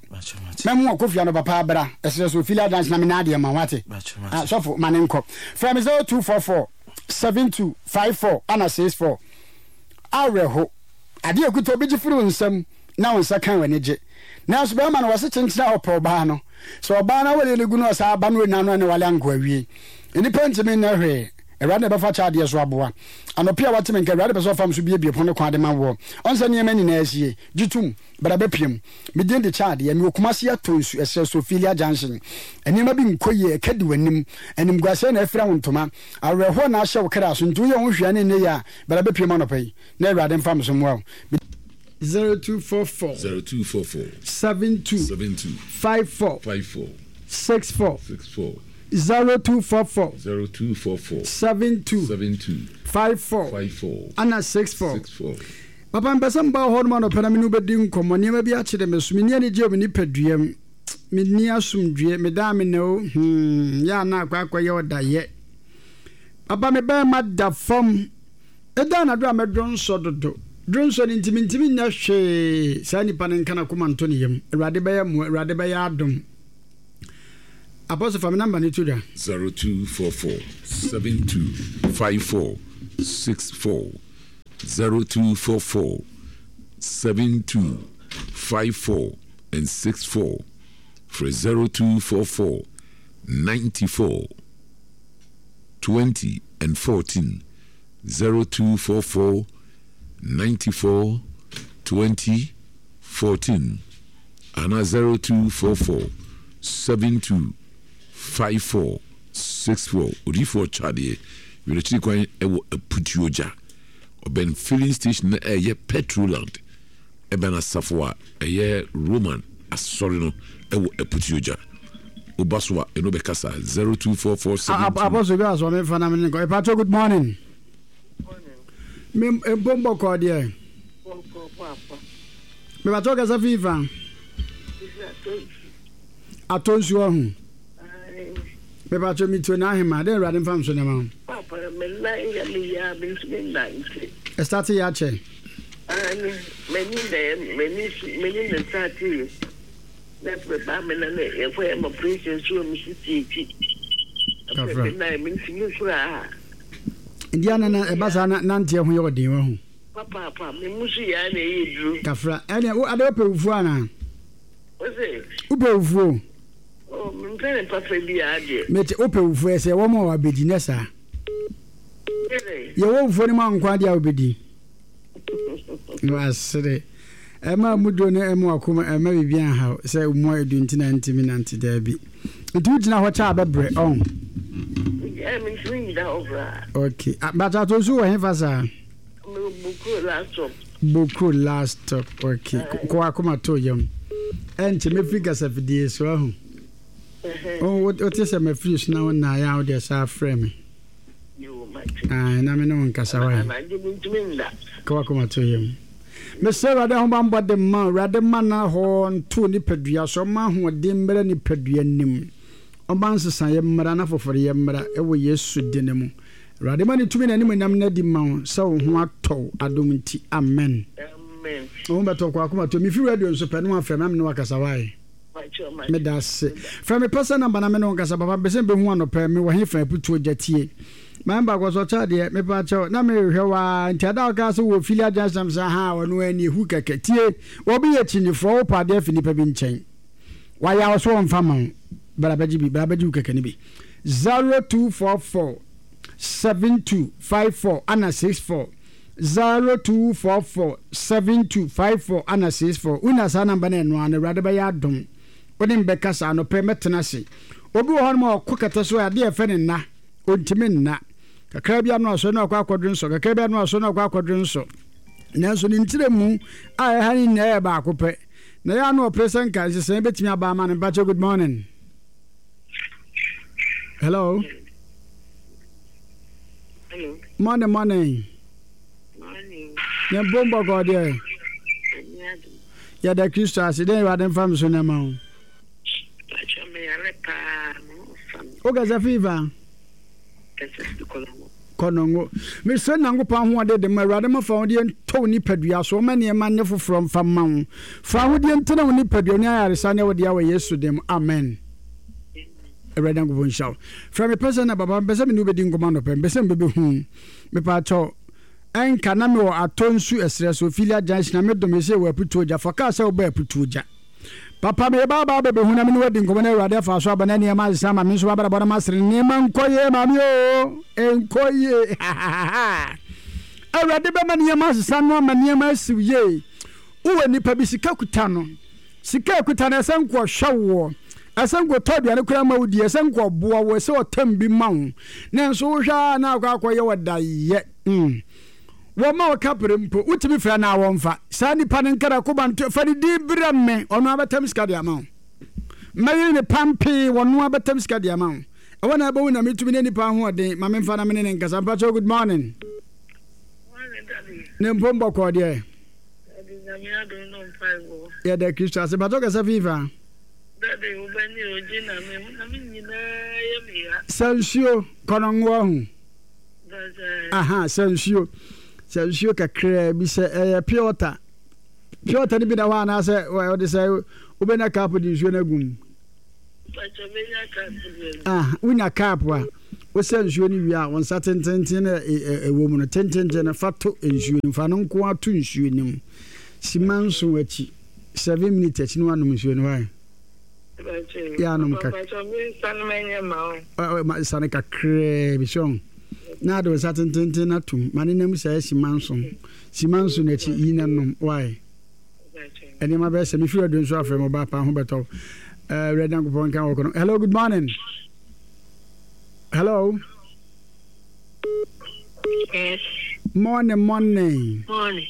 Mɛmo ɔkɔ fie anɔpa paa bra. Ɛserɛ so Ophelia Dance na menya adeɛ ma wo, wate? Ah, sɔfo, ma ne nkɔ. Frɛ me 0244 72 54 ana 64. Awerɛho. Adeɛ a ɛkuta obi gye firi wo nsam na wo nsa kan w'ani gye. Nanso bɛrima no, wɔse kyenkyene a ɔpɛ ɔbaa no. Sɛ ɔbaa no awareɛ no gu na ɔsan ba na ɔnya no a, ɛne wale anko awie. Nnipa ntumi nyɛ hwee. Awurade na ɛbɛfa kyɛ adeɛ so aboa. Anɔpa a wate me nka, Awurade pɛ sɛ ɔfa me so buebue pono ne kwan de ma woɔ. Ɔnsɛ nneɛma nyinaa asie. Gye tom. Bra bɛpiam. Me din de Kyadeɛ. Mewɔ Kumasi Atonsu, ɛserɛ so, Ophelia Junction. Nneɛma bi nkɔ yie, ɛka di w'anim. Animguaseɛ na afira wo ntoma. Awerɛhoɔ na ahyɛ wo kra so. Nti woyɛ wo ho hwee a na ɛnyɛ yie a, bra bɛpiam anɔpa yi, na Awurade mfa me so mmoa wo. Me. 0244. 0244. 72. 72. 54. 54. 64. 64. 0244. 0244. 72. 72. 54. 54. Ana 64. 64. Papa, mepɛ sɛ meba wo hɔ nom anɔpa na me ne wo bɛdi nkɔmmɔ. Nneɛma bi akyere me so. Menni anigyeɛ wɔ me nipadua mu. Menni asomdwoeɛ. Meda a mena o, hmm, yɛ a na akɔ akɔyɛ ɔdayɛ. Papa, me barima da fam. Ɛda anadwo a mɛdwo nsɔ dodo. Dwonsɔ no nti mentumi nyɛ hwee. Saa nipa no nka n'akoma nto ne yam. Awurade bɛyɛ mmoa, Awurade bɛyɛ adom. Apostle fa me number no to dwa. 0244 72 54 64 0244 72 54 and 64 Frɛ 0244 94 20 and 14 0244 94 20 14 anaa 0244 72 54 64. Odiyifoɔ Ɔtwadeɛ, Werɛkyiri kwan wɔ Aputuogya, ɔbɛn filling station no a ɛyɛ Petroland, ɛbɛn asafo a ɛyɛ Roman asɔre no wɔ Aputuogya. Woba so a, ɛno bɛkasa 0244 72. Apostle bi asɔ me fa na me ne nkɔ. Epacho good morning. Me mpo mbɔkɔ deɛ. Me pacho kasa fi fa. Atɔ nsuo ɔho. Me pacho me tuo na ahema. Dɛn awurade mfa nso nneɛma ho. Papa me nan yɛ me ya me ntumi nante. Ɛstate yɛ akyɛ. Aane m'ani na m'ani m'ani na starte yɛ. Na afei baa me na ne yɛkɔ yɛ ma operation nso wɔ me sisi akyi. Afei me nan me ntumi koraa. Nti ana na ɛba saa na nanteɛ ho yɛ ɔden wahu. Papaapa me mu so yɛ na ɛyɛ duro. Kafra ɛne wo ade wopɛ wufuo anaa? Ose. Wopɛ wufuo? Oh mempɛ ne papa biara deɛ. Mete wopɛ wufuo ɛsɛ wɔn a wabɛdi nyɛ saa. Yɛwɔ wufuo no mu ankwa deɛ a wobɛdi. Wasere. Ɛma mu duro no ɛma wakoma ɛma biribi anhaw sɛ mu ayɛ du nti na ntumi nante daabi. Nti wogyina hɔ kyɛ a bɛbrɛ ɔn. Mentumi ngyina hɔ koraa. Okay. But ato nso wɔ hefa saa? Bokuro last stop. Bokuro last stop. Okay. Kɔ wakoma to yam. Ɛnkyɛ mɛfiri kasafidie so ahu. Wote sɛ mafiri so na wo nnaeɛ a wode saa frɛ me. Ae, na me ne wo nkasa wae. Anadwo mentumi nna. Ka w'akoma to yam. Mesrɛ Awurade ahobammɔ de ma wo. Awurade mma n'ahɔ nto wo nipadua so. Ɔmma ahoɔden mmra nipadua no mu. Ɔmma nsesaeɛ mmra na foforeyɛ mmra wɔ Yesu dini mu. Awurade ma ne tumi ne n'animuonyam no adi ma wo sɛ wo ho atɔ wo adom nti. Amen. Amen. Wo ho bɛtɔ wo, kɔ w'akoma to yam. Mefi radio nso pɛ na woafrɛ me na me ne wo akasa wae. Medase. Frɛ me pɛsɛ number na me ne wo nkasa papa mepɛ sɛ mebehu anɔpa yi mewɔ he fa aputuo gya tie. Maame baako ɔsɛ ɔkyɛ adeɛ mepa kyɛw na merehwɛ wo aa nti ada a wokaa sɛ wɔ Ophelia junction mesɛ ahaa ɔno aa nie hu kɛkɛ tie obi yɛ kyinyifoɔ wopɛ adeɛ afi nipa bi nkyɛn wayɛ wo so ɔmfa ma wo bra bɛgye bi bra bɛgye wo kɛkɛ no bi 0244 72 54 ana 64 0244 72 54 ana 64 wonya saa namba no ɛno ara no awurade bɛyɛ adom wo ne me bɛkasa anɔpɛ mɛtena ase obi wɔ hɔnom a ɔkɔ kɛtɛ so a adeɛ ɛfɛ ne nna ɔntumi nna kakra bi ano asɔre no akɔ akɔdwe nsɔ kakra bi ano asɔre no akɔ akɔdwe nsɔ nanso ne ntire mu a ɛha ne nyinaa yɛ baako pɛ na yɛ ano ɔpere sɛ nka nhyehyɛe bɛtumi aba ama no mpakyɛ good morning hello Hello. Morning, morning. Morning. Ne bom bɔkɔ deɛ. Yɛda Kristo ase. Dɛn Awurade mfa me so na ma wo. Pacho me yare paa me ho fa me. Wo kasa fifa? Kasa fi kɔnɔngo. Kɔnɔngo. Mesrɛ Nyankopɔn ahoɔden de ma Awurade ma fa ahodeɛ ntɔ wo nipadua so ɔma nneɛma nyɛ foforɔ mfa mma wo. Fa ahodeɛ ntena wo nipadua ne ayaresa nyɛ wo dea wɔ Yesu din mu. Amen. Awurade Nyankopɔn nhyira wo. Frɛ me pɛ sɛ na papa mepɛ sɛ me ne wo bɛdi nkɔmmɔ anɔpa mepɛ sɛ mebɛbɛhu wo. Mepaakyɛw, ɛnka na mewɔ atɔ nsu ɛserɛ so, Ophelia Junction, na medom ɛsɛ wɔ Aputuogya. Fa kaa sɛ wobaa Aputuogya. Papa meba aba abɛbɛhu na me ne wo adi nkɔmmɔ na Awurade afa so aba na nneɛma asesa ama me nso m'abrabɔ na masere nneɛma nkɔ yie maame oo, ɛnkɔ yie hahaha. Awurade bɛma nneɛma asesa no ama nneɛma asiw yie. Wowɔ nipa bi sika kuta no. Sika a ɛkuta no, ɛsɛ nka ɔhwɛ woɔ, ɛsɛ nka ɔtɔ aduane koraa ma wo di, ɛsɛ nka ɔboa wo, ɛsɛ ɔtam bi ma wo. Nanso wohwɛ a na akɔ akɔyɛ ɔdayɛ. Mm. Wɔma wo kapere mpo, wotumi frɛ no a wɔmfa. Saa nipa no nkara koba nto, fa ne din brɛ me, ɔno abɛtam sika de ama wo. Mɛyere ne pampee, ɔno abɛtam sika de ama wo. Ɛwɔ na ɛbɛhu na metumi ne nipa ahoɔden, ma memfa na me ne ne nkasa. Mpakyɛw, good morning. Morning, daddy. Ne mpom bɔkɔɔ deɛ. Daddy nyame adom no mpaebɔ. Yɛda Kristo ase. Mpakyɛw kasa fi fa. Daddy wo bɛ ne ogye na me ho na me nyinaa yɛ me ya. Sɛ nsuo kɔnɔngoa ho. Aha sɛ nsuo. Sɛ nsuo kakraa bi sɛ ɛyɛ pure water. Pure water no bi da hɔ anaasɛ wɔde sɛ wobɛnya cup de nsuo no agu mu. Ah, wonya cup a, wosɛ nsuo no wie a, wo nsa tententen no ɛwɔ mu no, tententen no fa to nsuo no mu, fa no nko ara to nsuo no mu. Sima nson akyi, seven minutes akyi na wanom nsuo no, why? Yɛ anom kakra. Sane kakraa bi so. Na ade wo nsa tententen no atom. Ma ne nam saa sima nson. Sima nson akyi, yi na nom, why? Nneɛma bɛyɛ sɛ mefiri adu nso afrɛ mo ba paa ho bɛtɔ wo. Awurade Nyankopɔn nka wɔ kono. Hello, good morning. Hello. Yes. Morning, morning. Morning.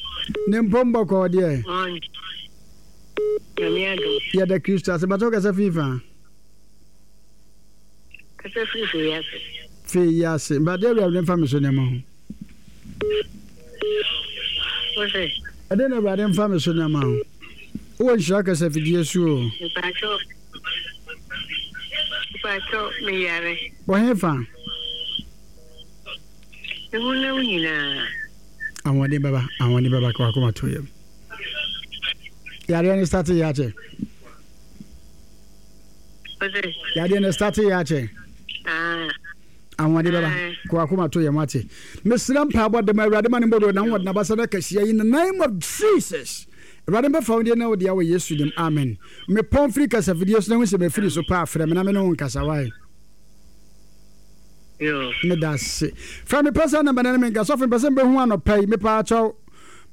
Ne mpom bɔkɔɔ deɛ. Morning. Nyame adom. Yɛda Kristo ase. Bàtɛ wokasa fii fa? Kasa firi fei ase. Fei ase. Bàtɛ Awurade mfa me so nneɛma ho. Wose? Ɛdeɛn na Awurade mfa me so nneɛma ho? Wowɔ nhyira kasafidie so o. Mpakyɛw, mpakyɛw, meyare. Wɔ hefa? Me honam nyinaa. Ahoɔden bɛba, ahoɔden bɛba, ka w'akoma to yam. Yadeɛ no starte yɛ akyɛ. Wose? Yadeɛ no starte yɛ akyɛ. Ah. Ahoɔden bɛba. Kɔ akoma to yɛn wate. Mesrɛ mpaebɔ de ma Awurade ma ne mbɔdɔ na wɔde n'abasa no akɛseɛ in the name of Jesus. Awurade mbɛfa wo deɛ na wo deɛ wɔ Yesu dim. Amen. Mepɔn firi kasafidie so na hu sɛ mafiri so paa frɛ me na me ne wo nkasa wae. Meda ase. Frɛ me pɛ sɛ namba na ne me nka sɔfo mpɛ sɛ mbɛhu anɔpa yi mepaa kyɛw.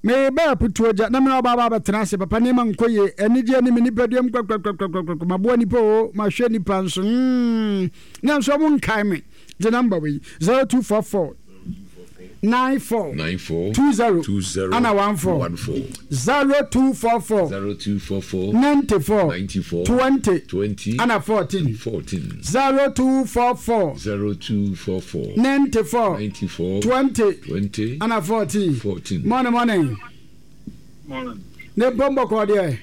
Meba aputuo gya na me ne ɔbaa ba abɛtena ase papa nneɛma nkɔ yie anigyeɛ ne me nipadua mu kwakwakwakwakwa maboa nipa o mahwɛ nipa nso mm. Nanso ɔmo nkae me. Gye number wei, 0244 94 20 ana 14 0244 94 20 ana 14 0244 94 20 ana 14. Morning, morning. Ne mpɔn bɔkɔɔ deɛ.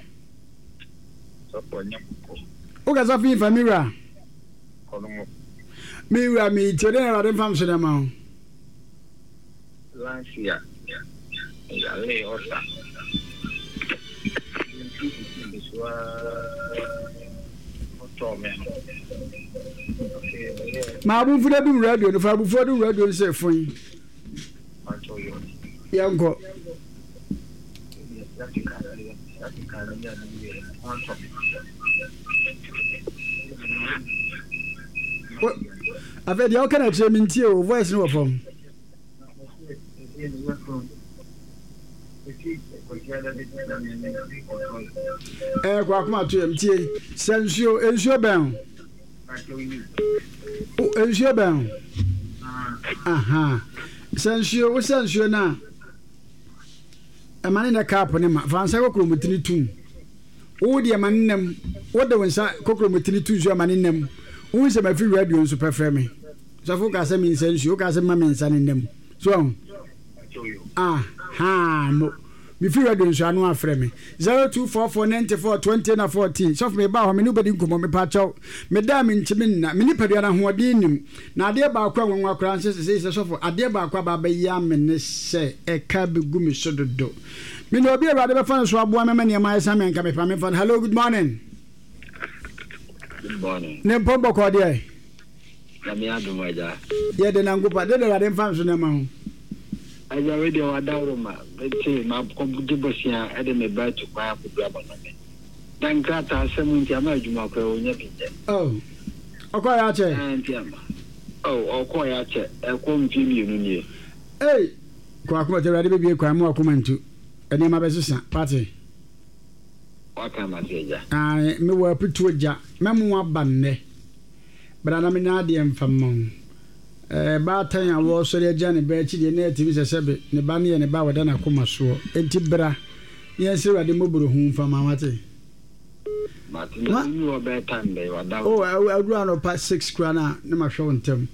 Wokasa fi nfa mi wura. kɔ no mu. Me wura me tie dɛ na Awurade mfa me so dɛ ma wo. Last year me yaree ɔsa nti sisi me so aa ɔtɔɔ me no afei me yɛ. Ma abufuo no dum radio no fa abufuo dum radio no sɛ fon. Yɛnkɔ. Afei deɛ ɔka na kyerɛ me ntie o voice no wɔ fam. Ɛɛ kɔ akoma to yam tie sɛ nsuo nsuo bɛn o nsuo bɛn o aha sɛ nsuo wosɛ nsuo no a. Ɛma ne nɛ cup no ma. Fa nsa kokromotini tom. Wo deɛ ma ne nam. Wode wo nsa kokromotini to nsuo a ma ne nam. Wohu sɛ mafi radio nso pɛ frɛ me. Sɔfo wokaa sɛ mensa nsuo, wokaa sɛ mma me nsa ne nam. So ahu? Ah, haa, mo. Mefi radio nso ano afrɛ me. 0244 94 20 na 14. Sɔfo meba hɔ me ne wobɛdi nkɔmmɔ mepakyɛw. Meda a mentumi nna. Me nipadua no ahoɔden nnim. Na adeɛ baako a nwanwa koraa nso sesei sɛ sɔfo, adeɛ baako aba abɛya me ne sɛ ɛka bɛgu me so dodo. Me na obi a Awurade bɛfa no so aboa me ama nneɛma ayɛ sa me anka mepa memfa no. Hello, good morning. Good morning. Ne mpɔn bɔkɔɔ deɛ. Nyame adom agya. Yɛ de Nyankopɔn, de de Awurade mfa nso nneɛma ho. Agya wei deɛ wadaworo ma mete makɔgye bosea de me ba atu kwan akɔduru abanɔne. Na nkrataa asɛm nti ama adwuma koraa ɔnya bi nyɛ. Oh, ɔkɔɔeɛ akyɛ? Ɛɛ nti ama. Oh, ɔkɔɔeɛ akyɛ, ɛkɔ mfeɛ mmienu nie. Ei! Kɔ akoma tu, Awurade bɛbue kwan, mo akoma ntu, nneɛma bɛsesa, wate? Waka mate agya. Ae, mewɔ aputuo gya, mɛmo aba nnɛ. Bra na menya adeɛ mfa mma wo. Ɛɛ, baatan a wɔresɔre agya ne ba akyi deɛ, na ɛtumi sɛ sɛbe ne ba no yɛ ne ba a ɔda n'akoma soɔ. Enti bra. Ne yɛn srɛ Awurade mmɔborɔhunu mfa ma wate. Mate na wonni hɔ bɛyɛ time bɛn wada Oh aduru anɔpa 6 koraa na na mahwɛ wo ntɛm.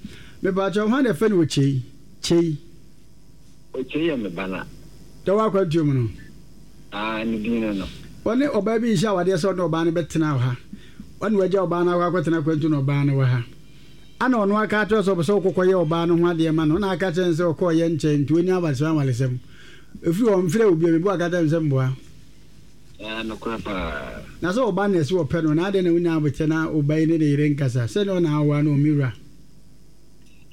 Mepaakyɛw hwan na ɛfɛ no Okyei? Kyei. Okyei yɛ me ba na. Deɛ ɔwɔ akwantuo mu no? Ah ne din no no. Ɔne ɔbaa bi nhyɛ awadeɛ sɛ ɔne ɔbaa no bɛtena wɔ ha. Ɔne wagya ɔbaa no akɔ akɔtena akwantuo na ɔbaa no wɔ ha. Ana ɔno aka akyerɛ wo sɛ ɔpɛ sɛ wokɔkɔyɛ ɔbaa no ho adeɛ ma no na aka kyerɛ no sɛ ɔkɔɔyɛ nkyɛn nti ɔnni awaresɛm awaresɛm. Ɛfiri hɔ mfrɛ wo bio, mebɔ akata me sɛ mboa. Ɛɛ nokorɛ paa. Na sɛ ɔba na ɛsɛ wɔpɛ no na adɛn na wonya abokyɛ na wo ba yi ne ne yere nkasa sɛ ne ɔna awoa no me wura.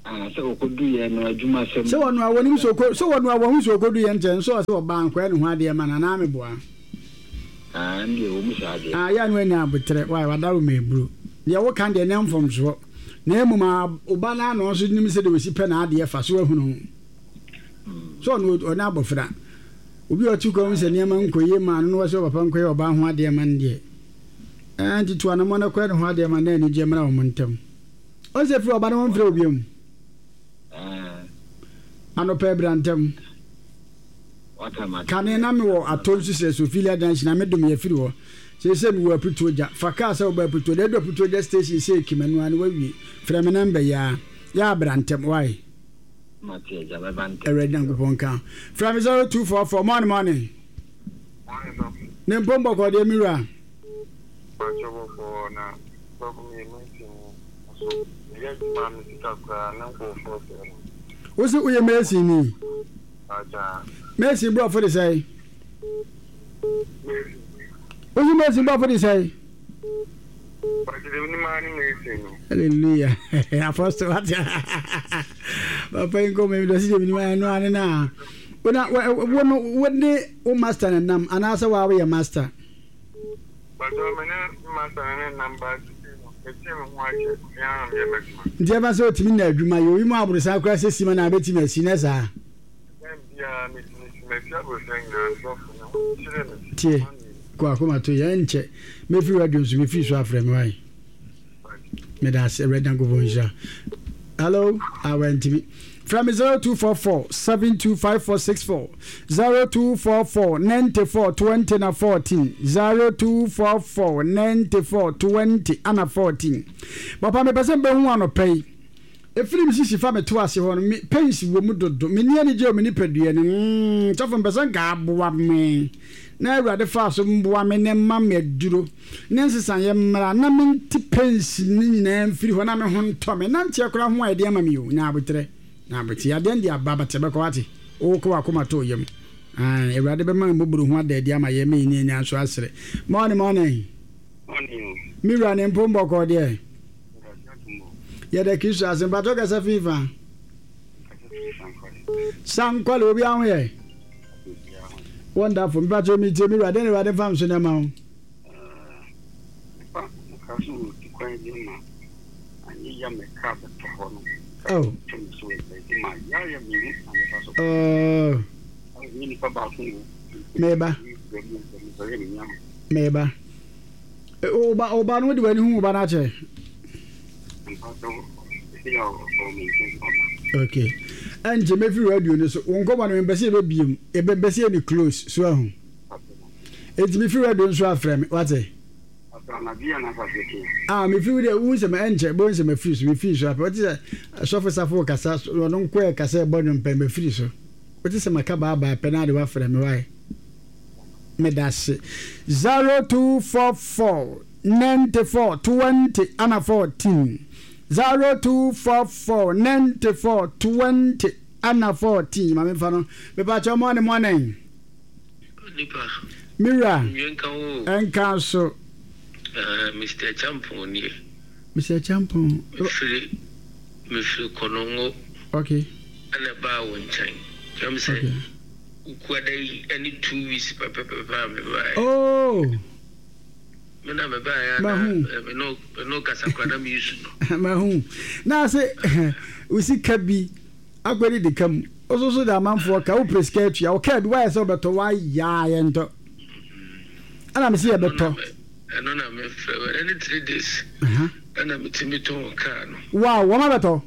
Ah sɛ ɔkɔduiɛ no adwuma sɛm. Sɛ wɔnoa wɔnim sɛ ɔkɔ sɛ wɔnoa wɔhu sɛ ɔkɔduiɛ nkyɛ nso ɔsɛ ɔbaa nkɔyɛ ne ho adeɛ ma no anaa meboa. Ah ɛndeɛ wɔ mu saa deɛ. Ah yɛ a na wanya aboterɛ why wadaro ma aburo deɛ woka deɛ nyɛ mfomsoɔ na mmom ah wo ba no ara na ɔnso nim sɛdeɛ ɔsi pɛ n'adeɛ fa so wahunu sɛ ɔno ɔne abɔfra obi a ɔte kwan mu sɛ nneɛma nkɔ yie maa no na wɔsɛ ɔpapa nkɔyɛ ɔbaa ho adeɛ ma no deɛ ɛɛ nti to anamɔ na kɔyɛ ne ho adeɛ ma na anigyeɛ mmra wɔn ntam ɔn sɛ firi ɔba no wɔmfrɛ obi mu anɔpa abira ntam kane na mewɔ atɔ nso sɛ Sophilia Junction na medom yɛ firi hɔ seesei mewɔ Aputuo gya fa kaa sɛ wobɛ Aputuo deɛ ɛdu Aputuo gya station sɛ ekimanu a na wawie frɛ me namba yi a yɛ abira ntɛm wae Mate agya mɛba ntɛm. Awurade Nyankopɔn nka ho. Frɛ me 0244 morning morning. Morning sɔfo. Ne mpom bɔkɔɔ deɛ me wura. Mpakyɛ bɔkɔɔ na sɔfo meyɛ mason ni nso meyɛ adwuma a me sika koraa ne nkurɔfoɔ sɛɛ no. Wo se woyɛ mason ni? Mpakyɛ. Mason borɔfo de sɛe? Mason. Wo se mason borɔfo de sɛe? Hallelujah. Apostle what? Papa yi nkɔmɔ yi dɔsi gyemi ni ɛno ane na. Wona wo no wo ne wo master na nam anaasɛ wa woyɛ master. Bàtà mi ne master ne ne nam ba sisi no meti mi ho akyɛ mi ara mi yɛ mɛtuma. Nti ɛfa sɛ otumi na adwuma yɛ oyi mu aborosan koraa sɛ sima na abɛtumi asi ne saa. Tie, kɔ akoma to yɛ nkyɛ. Mefiri radio nso mefiri so afrɛ me wae. Meda ase Awurade Nyankopɔn nhyira. Hello, awa ntimi. Frɛ me 0244 725464 0244 94 20 na 14 0244 94 20 ana 14. Papa mepɛ sɛ mbɛhu anɔpa yi. Ɛfiri me sisi fa me to ase hɔ no, me pains wɔ mu dodo. Menni anigye wɔ me nipadua no mu. Mm, sɔfo mpɛ sɛ nka aboa me. Na Awurade faa so mboa me na ɛma me aduro ne nsesaeɛ mmra na mente pains no nyinaa mfiri hɔ na me ho ntɔ me. Nanteɛ koraa ho ayɛ den ama me o. Nya aboterɛ. Nya aboterɛ. Yadeɛ no de aba but ɛbɛkɔ wate. Wokɔ w'akoma to wo yam. Ae, Awurade bɛma mmɔborohunu ho ada adi ama yɛn ma yɛn ani nso asere. Morning, morning. Morning o. Me wura ne mpom bɔkɔɔ deɛ. Yɛda Kristo ase. Mpakyɛw kasa fi fa? Sankwale obi aho yɛ? Wonderful. Mpakyɛw mi tie mi wura dɛn na Awurade mfa nso na ɛma wo? Oh. Oh. Meba. Meba. Wo ba, wo ba no wode w'ani hu wo ba no akyɛ? Okay. Ɛnkyɛ mɛfiri radio no so. Wo nkɔmmɔ no mempɛ sɛ yɛbɛbiem. Yɛbɛmpɛ sɛ yɛne close. So ahu. Enti mefiri radio no so afrɛ me. Wate? Ah, mefiri wo deɛ wohu sɛ ɛnkyɛ bɛhu sɛ mafiri so. Mefiri so afrɛ. Wote sɛ sɔfo safo kasa, ɔno nko ɛkasa ɛbɔ nnwom pɛ mafiri so. Wote sɛ maka baabaa pɛ na ade wafrɛ me. Why? Medase. 0244 94 20 ana 14. 0244 94 20 ana 14. Maame nfa no. Mepakyɛw mɔne mɔne. Nipa. Mira. Nwie nka wo. Nka so. Uh, Mr. Champon nie. Mr. Champon. Mefiri mefiri Konongo. Okay. Ɛna ɛbaa wo nkyɛn. Kyɛm sɛ. Okay. Wukuada yi ɛne 2 weeks pɛpɛpɛpɛ a mebaeɛ. Oh. Me na mebaeɛ a na me ne me ne kasa kora na meresu no. Mahu. Na ase wo sika bi akɔdi de ka mu. Wo so de amanfoɔ ka wopɛ sika atua wo kaa bi woayɛ sɛ wobɛtɔ woayɛ a yɛntɔ. Ɛna me se yɛbɛtɔ. Ɛno na mefrɛ wo ɛnɛ ne 3 days. Ɛna metumi tɔn kaa no. Wow, wɔn abɛtɔ.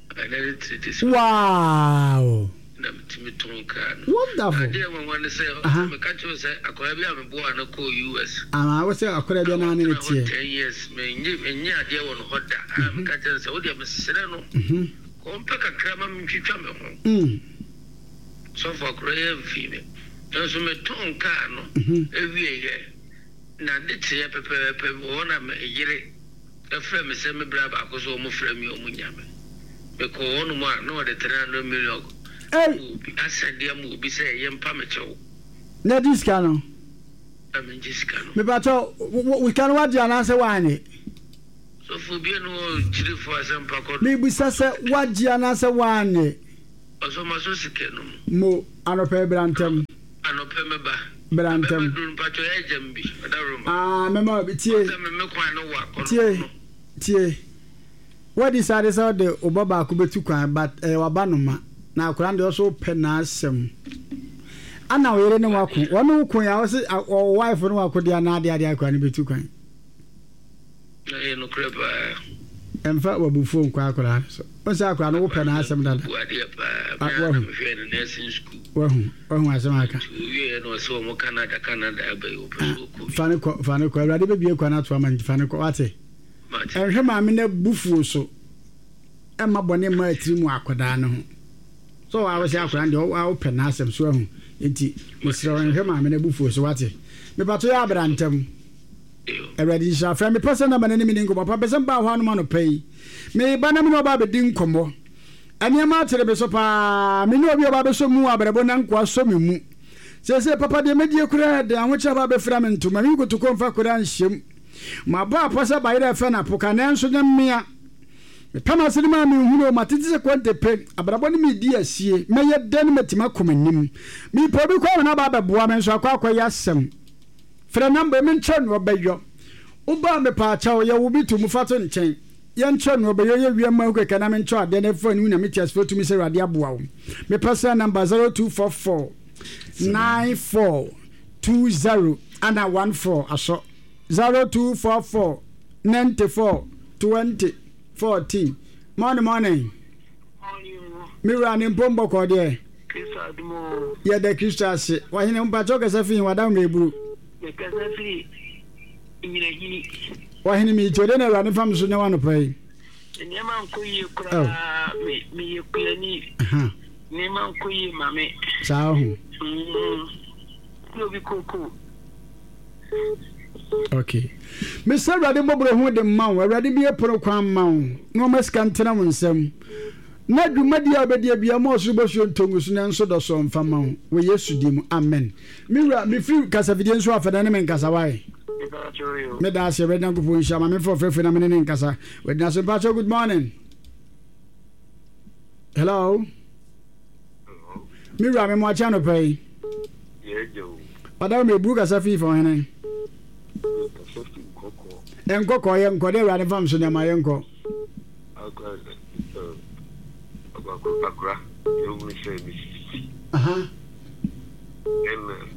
Ɛnɛ ne 3 days. Wow. Na metumi tɔn kaa no. Wonderful. Adeɛ nwanwa ne sɛ ɔsɛ meka kyerɛ wo sɛ akwadaa bi a meboa no kɔɔ US. Ah, wo sɛ akwadaa bi naa ne ne teɛ. 10 years menye menye adeɛ wɔ no hɔ da. A meka kyerɛ no sɛ wodeɛ mesrɛ no kɔmpɛ kakra ma mentwitwa me ho. Sɔfo akwadaa yi amfii me. Nanso metɔn kaa no ewieɛ na ade kyeeɛ pɛpɛɛpɛ wɔ hɔ na me yere frɛ me sɛ me bra baako so wɔn frɛ me wɔn nya me. Mekɔɔ hɔnom a na ɔde 300 million. Ei! Obi asɛnde ama obi sɛ yɛmpa me kyɛw. Na gye sika no. Na mengye sika no. Mepakyɛw, wo sika no wagye anaasɛ woannye? Sɔfo obi a ne hɔ kyiri fo asɛmpa kɔ do. Mebisa sɛ wagye anaasɛ woannye? Ɔsɔ masɔ sika no mu. Mo, anɔpa yi bra ntɛm. Anɔpa mɛba. Bra ntɛm. Mɛba duro no mpakyɛw yɛ gya me bi, ɔdawuroma. Ah, mɛma wo bi, tie. Ɔsɛ me me kwan no wa kɔ no Tie, no. tie. Woadecide sɛ wode wo ba baako bɛtu kwan but ɛyɛ w'abanoma na akwadaa no deɛ ɔso wopɛ n'asɛm. Ana wo yere ne wo ako? Wɔne wo ko ya wose wo wife ne wo ako deɛ anaa adeɛ adeɛ akwadaa no bɛtu kwan. Ɛyɛ nokorɛ paa. Ɛmfa w'abufuo nkɔ akwadaa no so. Wohu sɛ akwadaa no wopɛ n'asɛm dada. Ɔbu adeɛ paa. Me ara na mehwɛɛ no nursing school. Wahu, wahu asɛm aka. Nti ɔwieɛ na ɔse wɔn Canada, Canada aba yi ɔpɛ sɛ ɔkɔ bi. Fa no kɔ, fa no kɔ. Awurade bɛbue kwan ato ama no nti fa no kɔ, wate. Ɛnhwɛ maame no abufuo so ɛmma bɔne mma atiri mu akwadaa no ho. Sɛ ɔwɔ awɔhyɛ akwadaa no deɛ ɔwɔ wopɛ n'asɛm so ahu. Nti mesrɛ wo nhwɛ maame no abufuo so wate. Mepato yɛ abra ntɛm. Awurade nhyira frɛ me pɛ sɛ namba no ne me ni nkɔmmɔ pa pɛ sɛ mbaa hɔ anom anɔpa yi. Meba na me ne ɔba abɛdi nkɔmmɔ. Nneɛma akyere me so paa. Me ne obi a ɔba abɛsɔ mu wɔ abrabɔ na nkoa sɔ me mu. Seesei papa deɛ mɛdie koraa ɛden ahokyere aba abɛfira me ntoma. Me nkotokuo mfa koraa nhyɛm. Mabɔ apɔ sɛ bayerɛ ɛfɛ na poka nanso nyɛ mmea. Mepɛ m'ase no maa menhunu o, matete sɛ konte pe, abrabɔ ne medi asie, mɛyɛ dɛn matumi akɔ m'anim? Mepɛ obi kɔ ama no aba abɛboa me nso akɔ akɔyɛ asɛm. Frɛ number yi menkyerɛ nea ɔbɛyɔ. Woba a mepaakyɛw yɛ wo bi to mu fa to nkyɛn. Yɛnkyerɛ nea ɔbɛyɔ yɛ wia mma hu kɛkɛ na menkyerɛ adeɛ na ɛfa ne hu Nyame teasefoɔ tumi sɛ Awurade aboa wo. Me personal number 0244 94 20 ana 14 asɔ. 0244 94 20 14 Morning morning. Me wura ne mpom bɔkɔɔ deɛ. Kristo adom o. Yɛda Kristo ase. Wahene mpakyɛw kasa fi he wada mmerɛ eburu. Mekasa firi Nyinahini. Wahene mi tie de na awurade fa me so nyɛ w'anɔpa yi. Nneɛma nkɔ yie koraa me meyɛ kuani. Nneɛma nkɔ yie ma me. Saa ho. Mm. Obi koko. Okay. Mesɛ Awurade mmɔborɔ ho de mma wo. Awurade bie pono kwan mma wo. Na ɔma sika ntena wo nsam. Na dwumadi a wobɛdi abia ma ɔsoro bɔsuo ntɔ ngu so na nso dɔ so mfa ma wo. Wɔ Yesu din mu. Amen. Me wura, mefiri kasafidie nso afɛ na ne me nkasa wae. Meda ase Awurade Nyankopɔn nhyira ma memfa ɔfrɛfrɛ na me ne ne nkasa. Wadina so mpakyɛw good morning. Hello. Me wura me mo akye anɔpa yi. Ɔda me buru kasa fi fɔ hene. Nkɔkɔ yɛ nkɔ dɛ awurade fam so nneɛma yɛ nkɔ. Akora yɛhunu sɛ mesisi. Ɛna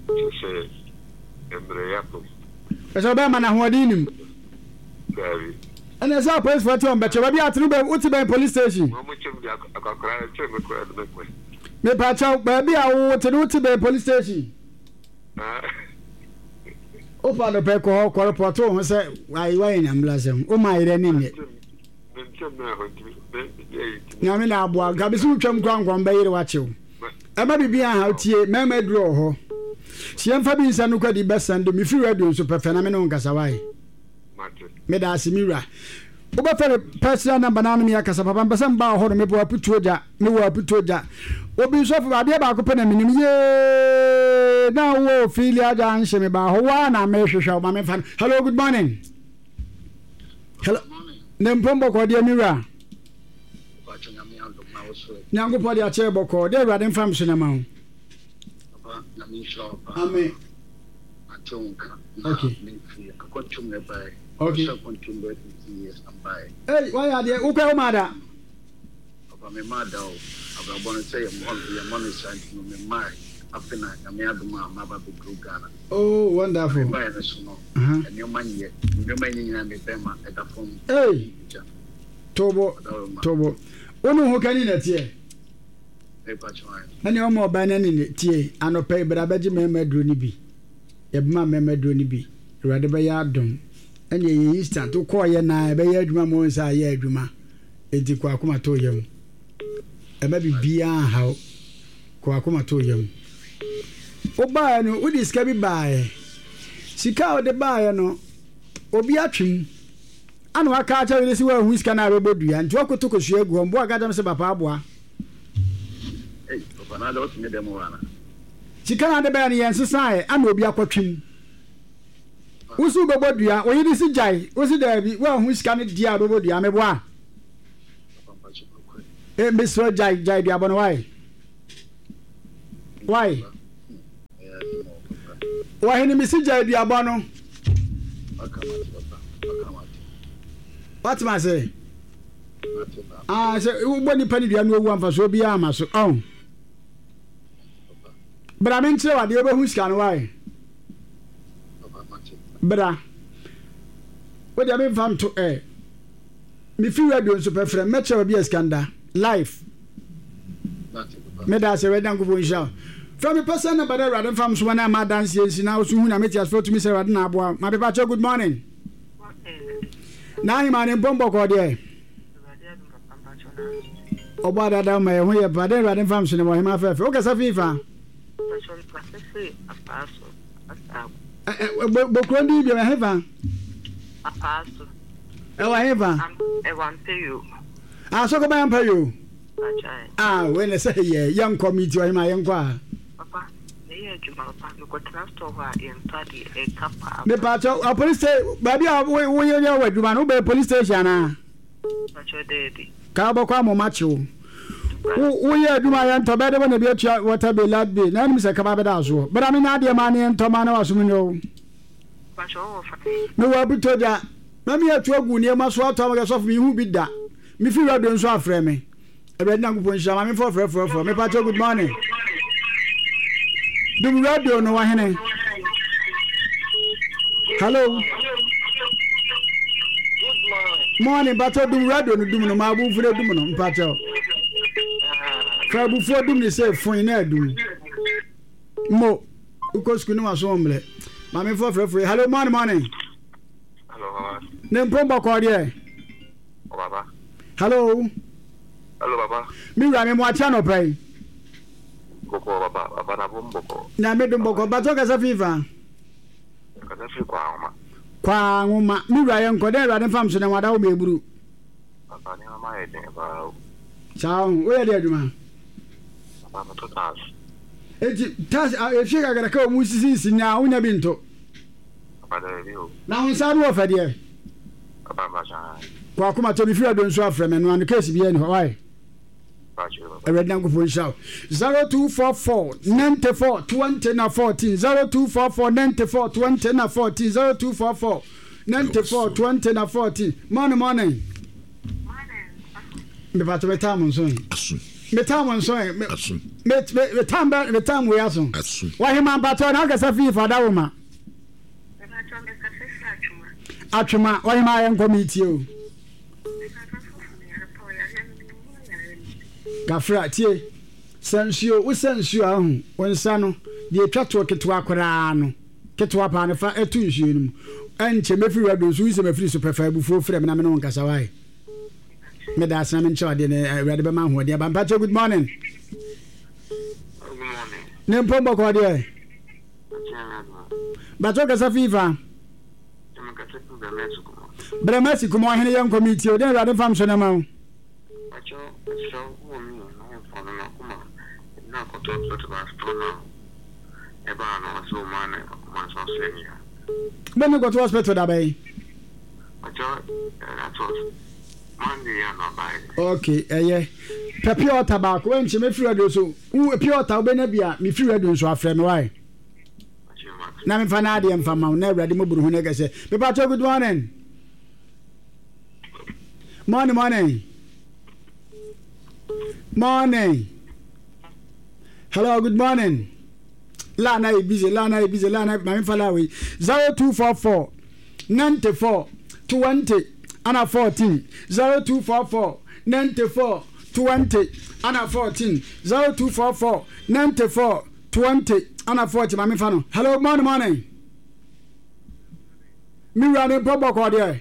kyɛ sɛ mmerɛ yɛapam. Ɛsɛ ɔbɛrima na ahoɔden nim. Daabi. Ɛna ɛsɛ apolisifoɔ te wɔn bɛkyɛ baabi a atene bɛ wote bɛn police station. Wɔn mo kyɛm de akɔkora ɛkyɛ me kora de me kɔ. Mepakyɛw baabi a wote no wote bɛn police station. Wopa no pɛ kɔ hɔ kɔ report wo ho sɛ ayi wayɛ nyambla sɛm wo ma yerɛ ne nyɛ. Nyame na aboa nka bisi wotwam kora nkɔm bɛyere wakyew. Ɛma biribi aha tie mɛma aduru wɔ hɔ. Si yɛmfa bi nsa no kwadi bɛsɛn do mefiri radio nso pɛfɛ na me ne wo nkasa wae. Meda ase me wura. Wobɛfɛ me personal number na me akasa papa mpɛ sɛ mbaa hɔ no mepɛ aputuo gya mewɔ aputuo gya. Obi nso afo adeɛ baako pɛ na menim yee na wowɔ Ophelia junction mebaa hɔ waa na mehwehwɛ wo ma memfa no. Hello good morning. Hello. Ne mpom bɔkɔɔ deɛ me wura. Nyankopɔn de akyɛ bɔkɔɔ deɛ awurade mfa me so na ma wo. Amen. Okay. Okay. Hey, why are there? Okay, Omada. Papa me maa da o abrabɔ no sɛ yɛmmɔ no saa nti no me mmae afe na Nyame adom a maba bɛduru Ghana. Oh wonderful. Me baeɛ no so no nneɛma nyɛ nneɛma nyɛ nyinaa me bɛma ɛda fam. Hey tobo tobo wo ne ho kani na ɛteɛ. Ɛne ɔma ɔbaa no ani ne tie anɔpa yi bra bɛgye mmarima aduro no bi yɛbɛma mmarima aduro no bi awurade bɛyɛ adom ɛne ɛyɛ instant wokɔɔyɛ naa ɛbɛyɛ adwuma ma wɔn sɛ ayɛ adwuma. Enti kɔ akoma to yam. Ɛma biribiara nha wo. Kɔ akoma to yam. Wobaeɛ no, wode sika bi baeɛ. Sika a wode baeɛ no, obi atwe mu. Ana waka akyerɛ wo sɛ woanhu sika no a bɛbɔ dua. Nti woakoto kosua agu hɔ. Mboa ka kyerɛ me sɛ papa aboa. Papa na adɛ wote me dɛm hɔ ana? Sika no ade bɛyɛ no yɛnsesaeɛ ana obi akɔtwem. Wo se wobɛbɔ dua, wo yere se gyae, wo se daabi, woanhu sika no deɛ a wobɛbɔ dua, meboa? Eh, mesrɛ gyae, gyae duabɔ no, why? Why? Wɔhene mese gyae duabɔ no. Wate ma ase? Ah, sɛ wobɔ nipa no dua no owu amfasoɔ biara ama so. Ɔn. Bra me nkyerɛ wadeɛ wobɛhu sika no wae. Bra. Wo deɛ memfa nto ɛ. Mefi radio nso pɛ frɛ mɛkyerɛ baabi a sika no da. Life. Meda ase Awurade Nyankopɔn nhyira wo. Frɛ me pɛ sɛ na bada Awurade mfa msoma na ama adanseɛ nsi na woso hu na mete asefoɔ tumi sɛ Awurade na aboa ma pepa kyɛ good morning. Na ahema ne mpɔn bɔkɔɔ deɛ. Ɔbɔ adada ma yɛ ho yɛ pa dɛ Awurade mfa mso ne wɔ hema fɛfɛ. Wokasa fi fa? Bokuro ndi bi ɛwɔ hefa? Ɛwɔ hefa? Ɛwɔ Ampayo. Ah, sɔkɔ bɛn Ampayo? Ah, wei na sɛ yɛ yɛnkɔ mi ti ɔhema yɛnkɔ a. Papa, meyɛ adwuma papa, mekɔtena store hɔ a yɛntɔ adeɛ, ɛka paa. Mepatɔ, a police station, baabi a woyɛ yɛ wɔ adwuma no, wobɛyɛ police station anaa? Mpakyɛw daabi. Kaa wobɛkɔ amoma kye wo. Wo woyɛ adwuma a yɛntɔ bɛde wo na bi atua water bill, light bill, na anim sɛ kaba bɛda asoɔ. Bra me nya adeɛ maa ne yɛntɔ maa na wasom nyɛ o. Mpakyɛw wowɔ fa? Mewɔ abutogya. Na me atu agu nneɛma so atɔ ama kɛ sɔfo menhu bi da. Me fi radio nso afrɛ me. Awurade Nyankopɔn nhyira maame fɔ frɛ frɛ frɛ. Mepa kyɛw good morning. Dum radio no wahene. Hello. Morning mpakyɛw dum radio no dum no ma abufo no dum no mpakyɛw. Fa abufuo dum ne sɛ fon na adum. Mo wokɔ sukuu ne waso mmerɛ. Maame fɔ frɛ frɛ. Hello morning morning. Hello baba. Ne mpom bɔkɔɔ deɛ. Oh, baba. Hello. Hello baba. Me wura me mo akyi anɔpa yi. Bɔkɔɔ baba, baba na bom bɔkɔɔ. Nyame dom bɔkɔɔ. Batɔ kasa fi fa. Kasa firi kwa ahoma. Kwa ahoma. Me wura yɛ nkɔ dɛ awurade mfa mso na wada wo ma eburu. Papa ne mama yɛ den paa o. Saa ho, woyɛ de adwuma? Papa meto tas. Eti tas efie kakraka wɔn sisi nsi na wonya bi nto. Papa daabi o. Na wo nsa ano wɔ fɛ deɛ. Papa mpakyɛ ae. Kɔ akoma tɔ me firi ado nso afrɛ me no ano case biara ni hɔ why. Awurade Nyankopɔn nhyira wo. 0244 94 20 na 14 0244 94 20 na 14 0244 94 20 na 14 Morning morning. Mepatɔ me tam nso yi. Me tam nso yi. Me me tam bɛ me tam wei aso. Wahema mpatɔ na akasa fii fada wo ma. Atwema wahema ayɛ nkɔ mi tie o. Kafra tie sɛ nsuo wosɛ nsuo a ahu wo nsa no deɛ etwa toɔ ketewa koraa no ketewa paa no fa ɛto nsuo no mu ɛnkyɛ mɛfiri radio nso woyi sɛ mafiri so pɛ fa abufuo frɛ me na me ne wo nkasa wae. Meda ase na menkyerɛ adeɛ na awurade bɛma ahoɔden aba. Mpakyɛ good morning. Good morning. Ne mpom bɔkɔɔ deɛ. Mpakyɛ kasa fi fa. Brɛmasi kuma ɔhene yɛ nkɔ metie o. Deɛ awurade mfa mso na ma wo. Mpakyɛ mesrɛ wo wɔ me nua no mfa no n'akoma na akɔtɔ hospital asotɔ na ɛbaa no ɔsɛ ɔma ne akoma nso asɔ ani a. Bɛ ne kɔtɔ hospital da bɛn? Ok ɛyɛ pɛ pure water baako ɛnkyɛ mɛfiri radio so wo pure water wobɛnya bi a mefiri radio nso afrɛ me wae na memfa no adeɛ mfa ma wo na awurade mɔburu ho no ɛkɛsɛ mepatɔ good morning morning morning morning hello good morning la na yɛ busy la na yɛ busy la na maame fa la wei 0244 94 20 ana 14 0244 94 20 ana 14 0244 94 20 ana 14 maame fa no hello morning morning me wura ne mpɔ bɔkɔ deɛ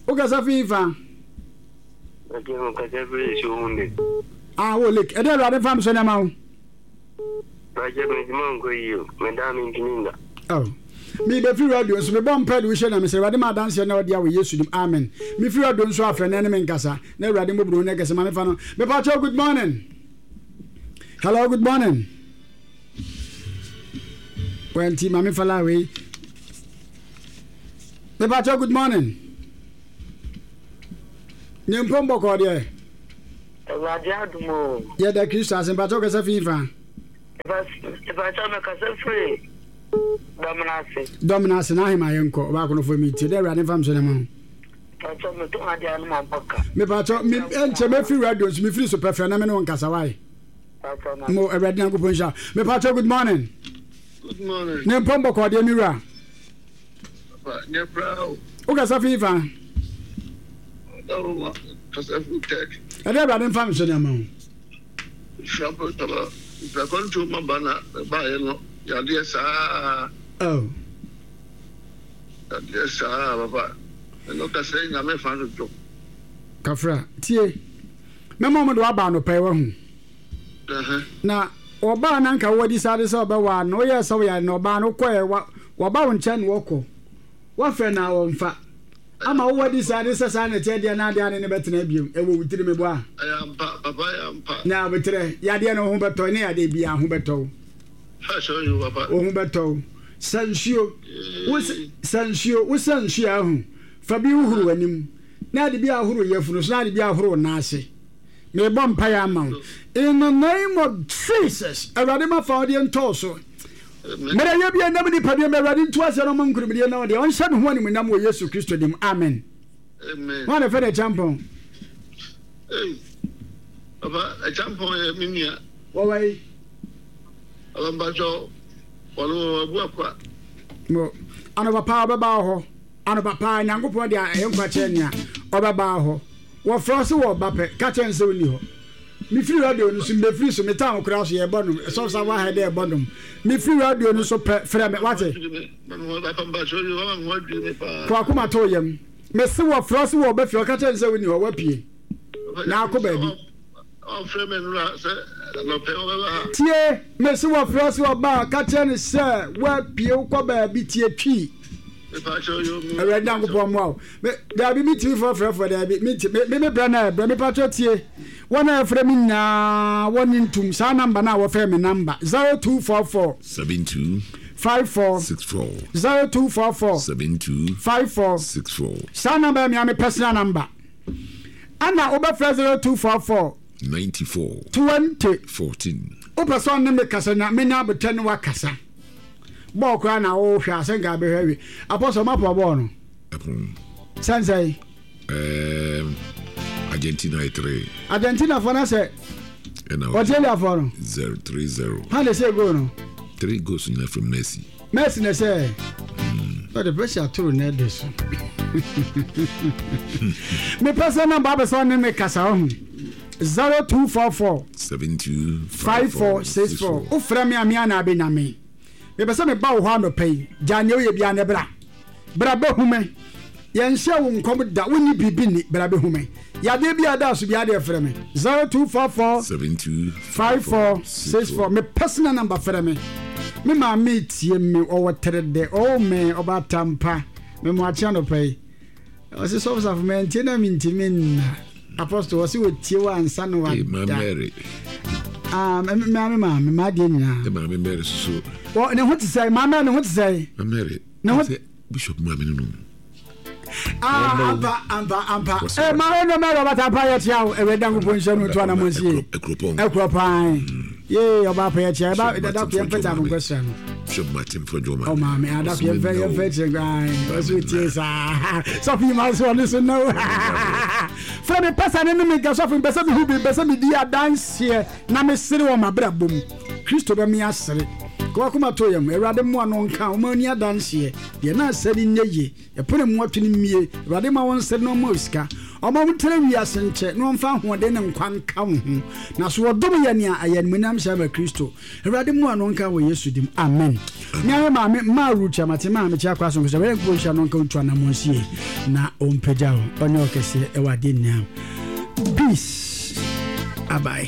wokasa fi fa ah wo lake ɛdɛ awurade fa m so nneɛma wo Bàjẹ́ mi ti máa ń kọ yìí o, mi dá mi ntumi nda. Oh. Mi bɛ fi radio nso mi bɔ mpɛ de wohyɛ na mesɛ awurade ma adanseɛ na ɔde awɔ Yesu dim amen. Mi fi radio nso afrɛ na ɛne me nkasa na awurade mmɔborɔhu na ɛkɛse ma me fa no. Mepa kyɛw good morning. Hello, good morning. Wɛnti maame fala wei. Mepakyɛ good morning. Ne mpom bɔkɔɔ deɛ. Awurade adom o. Yɛda Kristo ase mpakyɛ kasa fi fa. Mepakyɛ mekasa firi Dɔmena ase. Dɔmena ase na ahema yɛnkɔ ɔbaako no fo mi tie dɛ Awurade mfa mso ne ma ho. Mepakyɛ metɔn adeɛ ano ma bɔ ka. Mepakyɛ me nkyɛ mefiri radio nso mefiri so pɛfrɛ na me ne wo nkasa wae. Mo Awurade Nyankopɔn nhyira. Mepakyɛ good morning. Good morning. Ne mpɔn bɔkɔɔ deɛ me wura. Papa, nyɛ koraa o. Wokasa fi fa? Ɔdawoma, kasa fi Turkey. Ɛdɛ Awurade mfa me so nneɛma ho. Nhyira bɔ papa, mprakɔntuo ma ba na ɛbaeɛ no yadeɛ saa. Oh. Yadeɛ saa papa, ɛno kasa yi nyame fa dodo. Kafra, tie. Mɛma wɔn de waba anɔpa yi wahu. Na ɔbaa na nka wadi sade sɛ ɔbɛwaa no, woyɛɛ sɛ woyare na ɔbaa no wokɔɛ waba wo nkyɛn na wɔkɔ. Woafrɛ no a ɔmfa. Ama wo wadi sade sɛ saa na ɛteɛ deɛ na adeɛ ane ne bɛtena biom. Ɛwɔ wo tiri meboa. Ɛyɛ ampa, papa ɛyɛ ampa. Na aboterɛ, yadeɛ no wo ho bɛtɔ ne yadeɛ biara ho bɛtɔ wo. Wo ho bɛtɔ wo. Sa nsuo, wo sa nsuo, wo sa nsuo a ahu. Fa bi hohoro w'anim, na ade bi ahoro yafunu so, na ade bi ahoro wo nan ase. Merebɔ mpaeɛ ama wo. In the name of Jesus, Awurade ma fa ɔdeɛ ntɔɔ so. Mmerɛ yɛ bi ɛnam nipa bi Awurade ntu aseɛ na ɔma nkunimdie na ɔdeɛ ɔnhyɛ ne ho animuonyam wɔ Yesu Kristo dim. Amen. Amen. Wɔn na fɛ de kyampɔn. Hey, papa, ɛkyampɔn yɛ me nua. Wɔwɔ yi. Papa mpatsɔ, wɔn wɔ abu akwa. Mo, anɔpa paa ɔbɛba hɔ. Anɔpa paa Nyankopɔn de ɛyɛ nkwa kyerɛ nea ɔbɛba hɔ. Wɔfrɛ wo se wɔreba pɛ, ka kyerɛ no sɛ wonni hɔ. Mefiri radio no so, mebɛfiri so, me town koraa so yɛrebɔ nnwom, ɛsɔfo sa wahɛ dɛ ɛbɔ nnwom. Mefiri radio no so pɛ, frɛ me, wate? Kɔ akoma to wo yam. Mese wɔfrɛ wo se wɔreba fie, ɔka kyerɛ no sɛ wonni hɔ, woapue na akɔ baabi. Ɔfrɛ me nnora sɛ anɔpɛ ɔbɛba ha. Tie, mese wɔfrɛ wo se wɔba a, ka kyerɛ no sɛ woapue wokɔ baabi, tie twi. Awurade Nyankopɔn mmoa wo. Me daabi me tumi fɔ frɛfoɔ daabi me nti me me brɛ na ɛbrɛ me patro tie wɔn a ɛfrɛ me nyinaa wɔn ne ntum saa namba na wɔfrɛ me namba 0244 72 54 64 0244 72 54 64 saa namba yɛ mea me personal namba ɛna wobɛfrɛ 0244 94 20 14 wopɛ sɛ ɔne me kasa nya menya abotɛ ne wakasa Bɔɔl koraa na wohwɛ a sɛ nka bɛhwɛ awie. Apostle ma pɔ bɔɔl no. Ɛpon. Sɛnsɛn. Um, Argentina yɛ 3. Argentina fo na sɛ. Ɛna Australia fo no. 0 3 0. How they say goal no? 3 goals nyina from Messi. Messi na sɛ. Ɔde pressure ato Ronaldo so. Mepɛ sɛ namba abɛ sɛ ɔne me kasa ɔho. 0244 72 5464. Wofrɛ me a me a na abɛnya me. Mepɛ sɛ meba wo hɔ anɔpa yi. Gyaa nea woyɛ biara na bra. Bra bɛhu me. Yɛnhyɛɛ wo nkɔm da. Wonni biribi nni. Bra bɛhu me. Yadeɛ biara da so biara deɛ frɛ me. 0244 72 5464. Me personal number frɛ me. Me maame tie me. Ɔwɔ Teredɛ. Ɔwɔ me Ɔbaatampa. Me mo akye anɔpa yi. Ɔse sɔfo safo mantie na mentimi nna. Apostle ɔse otie wo ansa na wada. Maame Mary. Ah, me maame maame m'adeɛ nyinaa. Ne maame Mary soso. Wɔ ne ho te sɛ maame Mary ne ho te sɛ. Maame Mary. Ne ho Bishop maame no no. Ah, ampa ampa ampa. Eh, maame no Mary ɔbata ampa yɛ tia o. Ewɛ danko po nhyɛ no to ana mo nsie. Ekuropɔn. Ekuropɔn. Yee ɔba apɛ yɛ tia. Eba dada ko yɛn fɛta mo nkɔsra no. Bishop Martin Fodwo maame. Oh maame, ada ko yɛn fɛ yɛn fɛ kyerɛ guan. Ɔso tie saa. Sɔfo yi ma so ɔno so no. Frɛ me pɛsɛ ne ne me nka sɔfo mpɛ sɛ mehu bi mpɛ sɛ medi adanseɛ na mesere wɔ m'abrabɔ mu. Kristo bɛ me asere. Kɔwakoma to yam. Awurade mmoa no nka ɔma ani adanseɛ. Deɛ na asɛ ne nyɛ yie. Ɛpono mu ato no mmie. Awurade ma wo nsere na ɔma wo sika. Ɔma wo ntena wiase nkyɛ na ɔmfa ahoɔden ne nkwa nka wo ho. Na so ɔdom yɛ nea ɛyɛ animuonyam hyɛ ma Kristo. Awurade mmoa no nka wɔ Yesu dim. Amen. Me ara maame maa Ruth amate maa mekyɛ akɔ asomfo sɛ Awurade Nyankopɔn nhyira no nka ntu anammɔn sie na ɔmpagya wo ɔnyɛ ɔkɛseɛ ɛwɔ adeɛ nyinaa. Peace. Abae.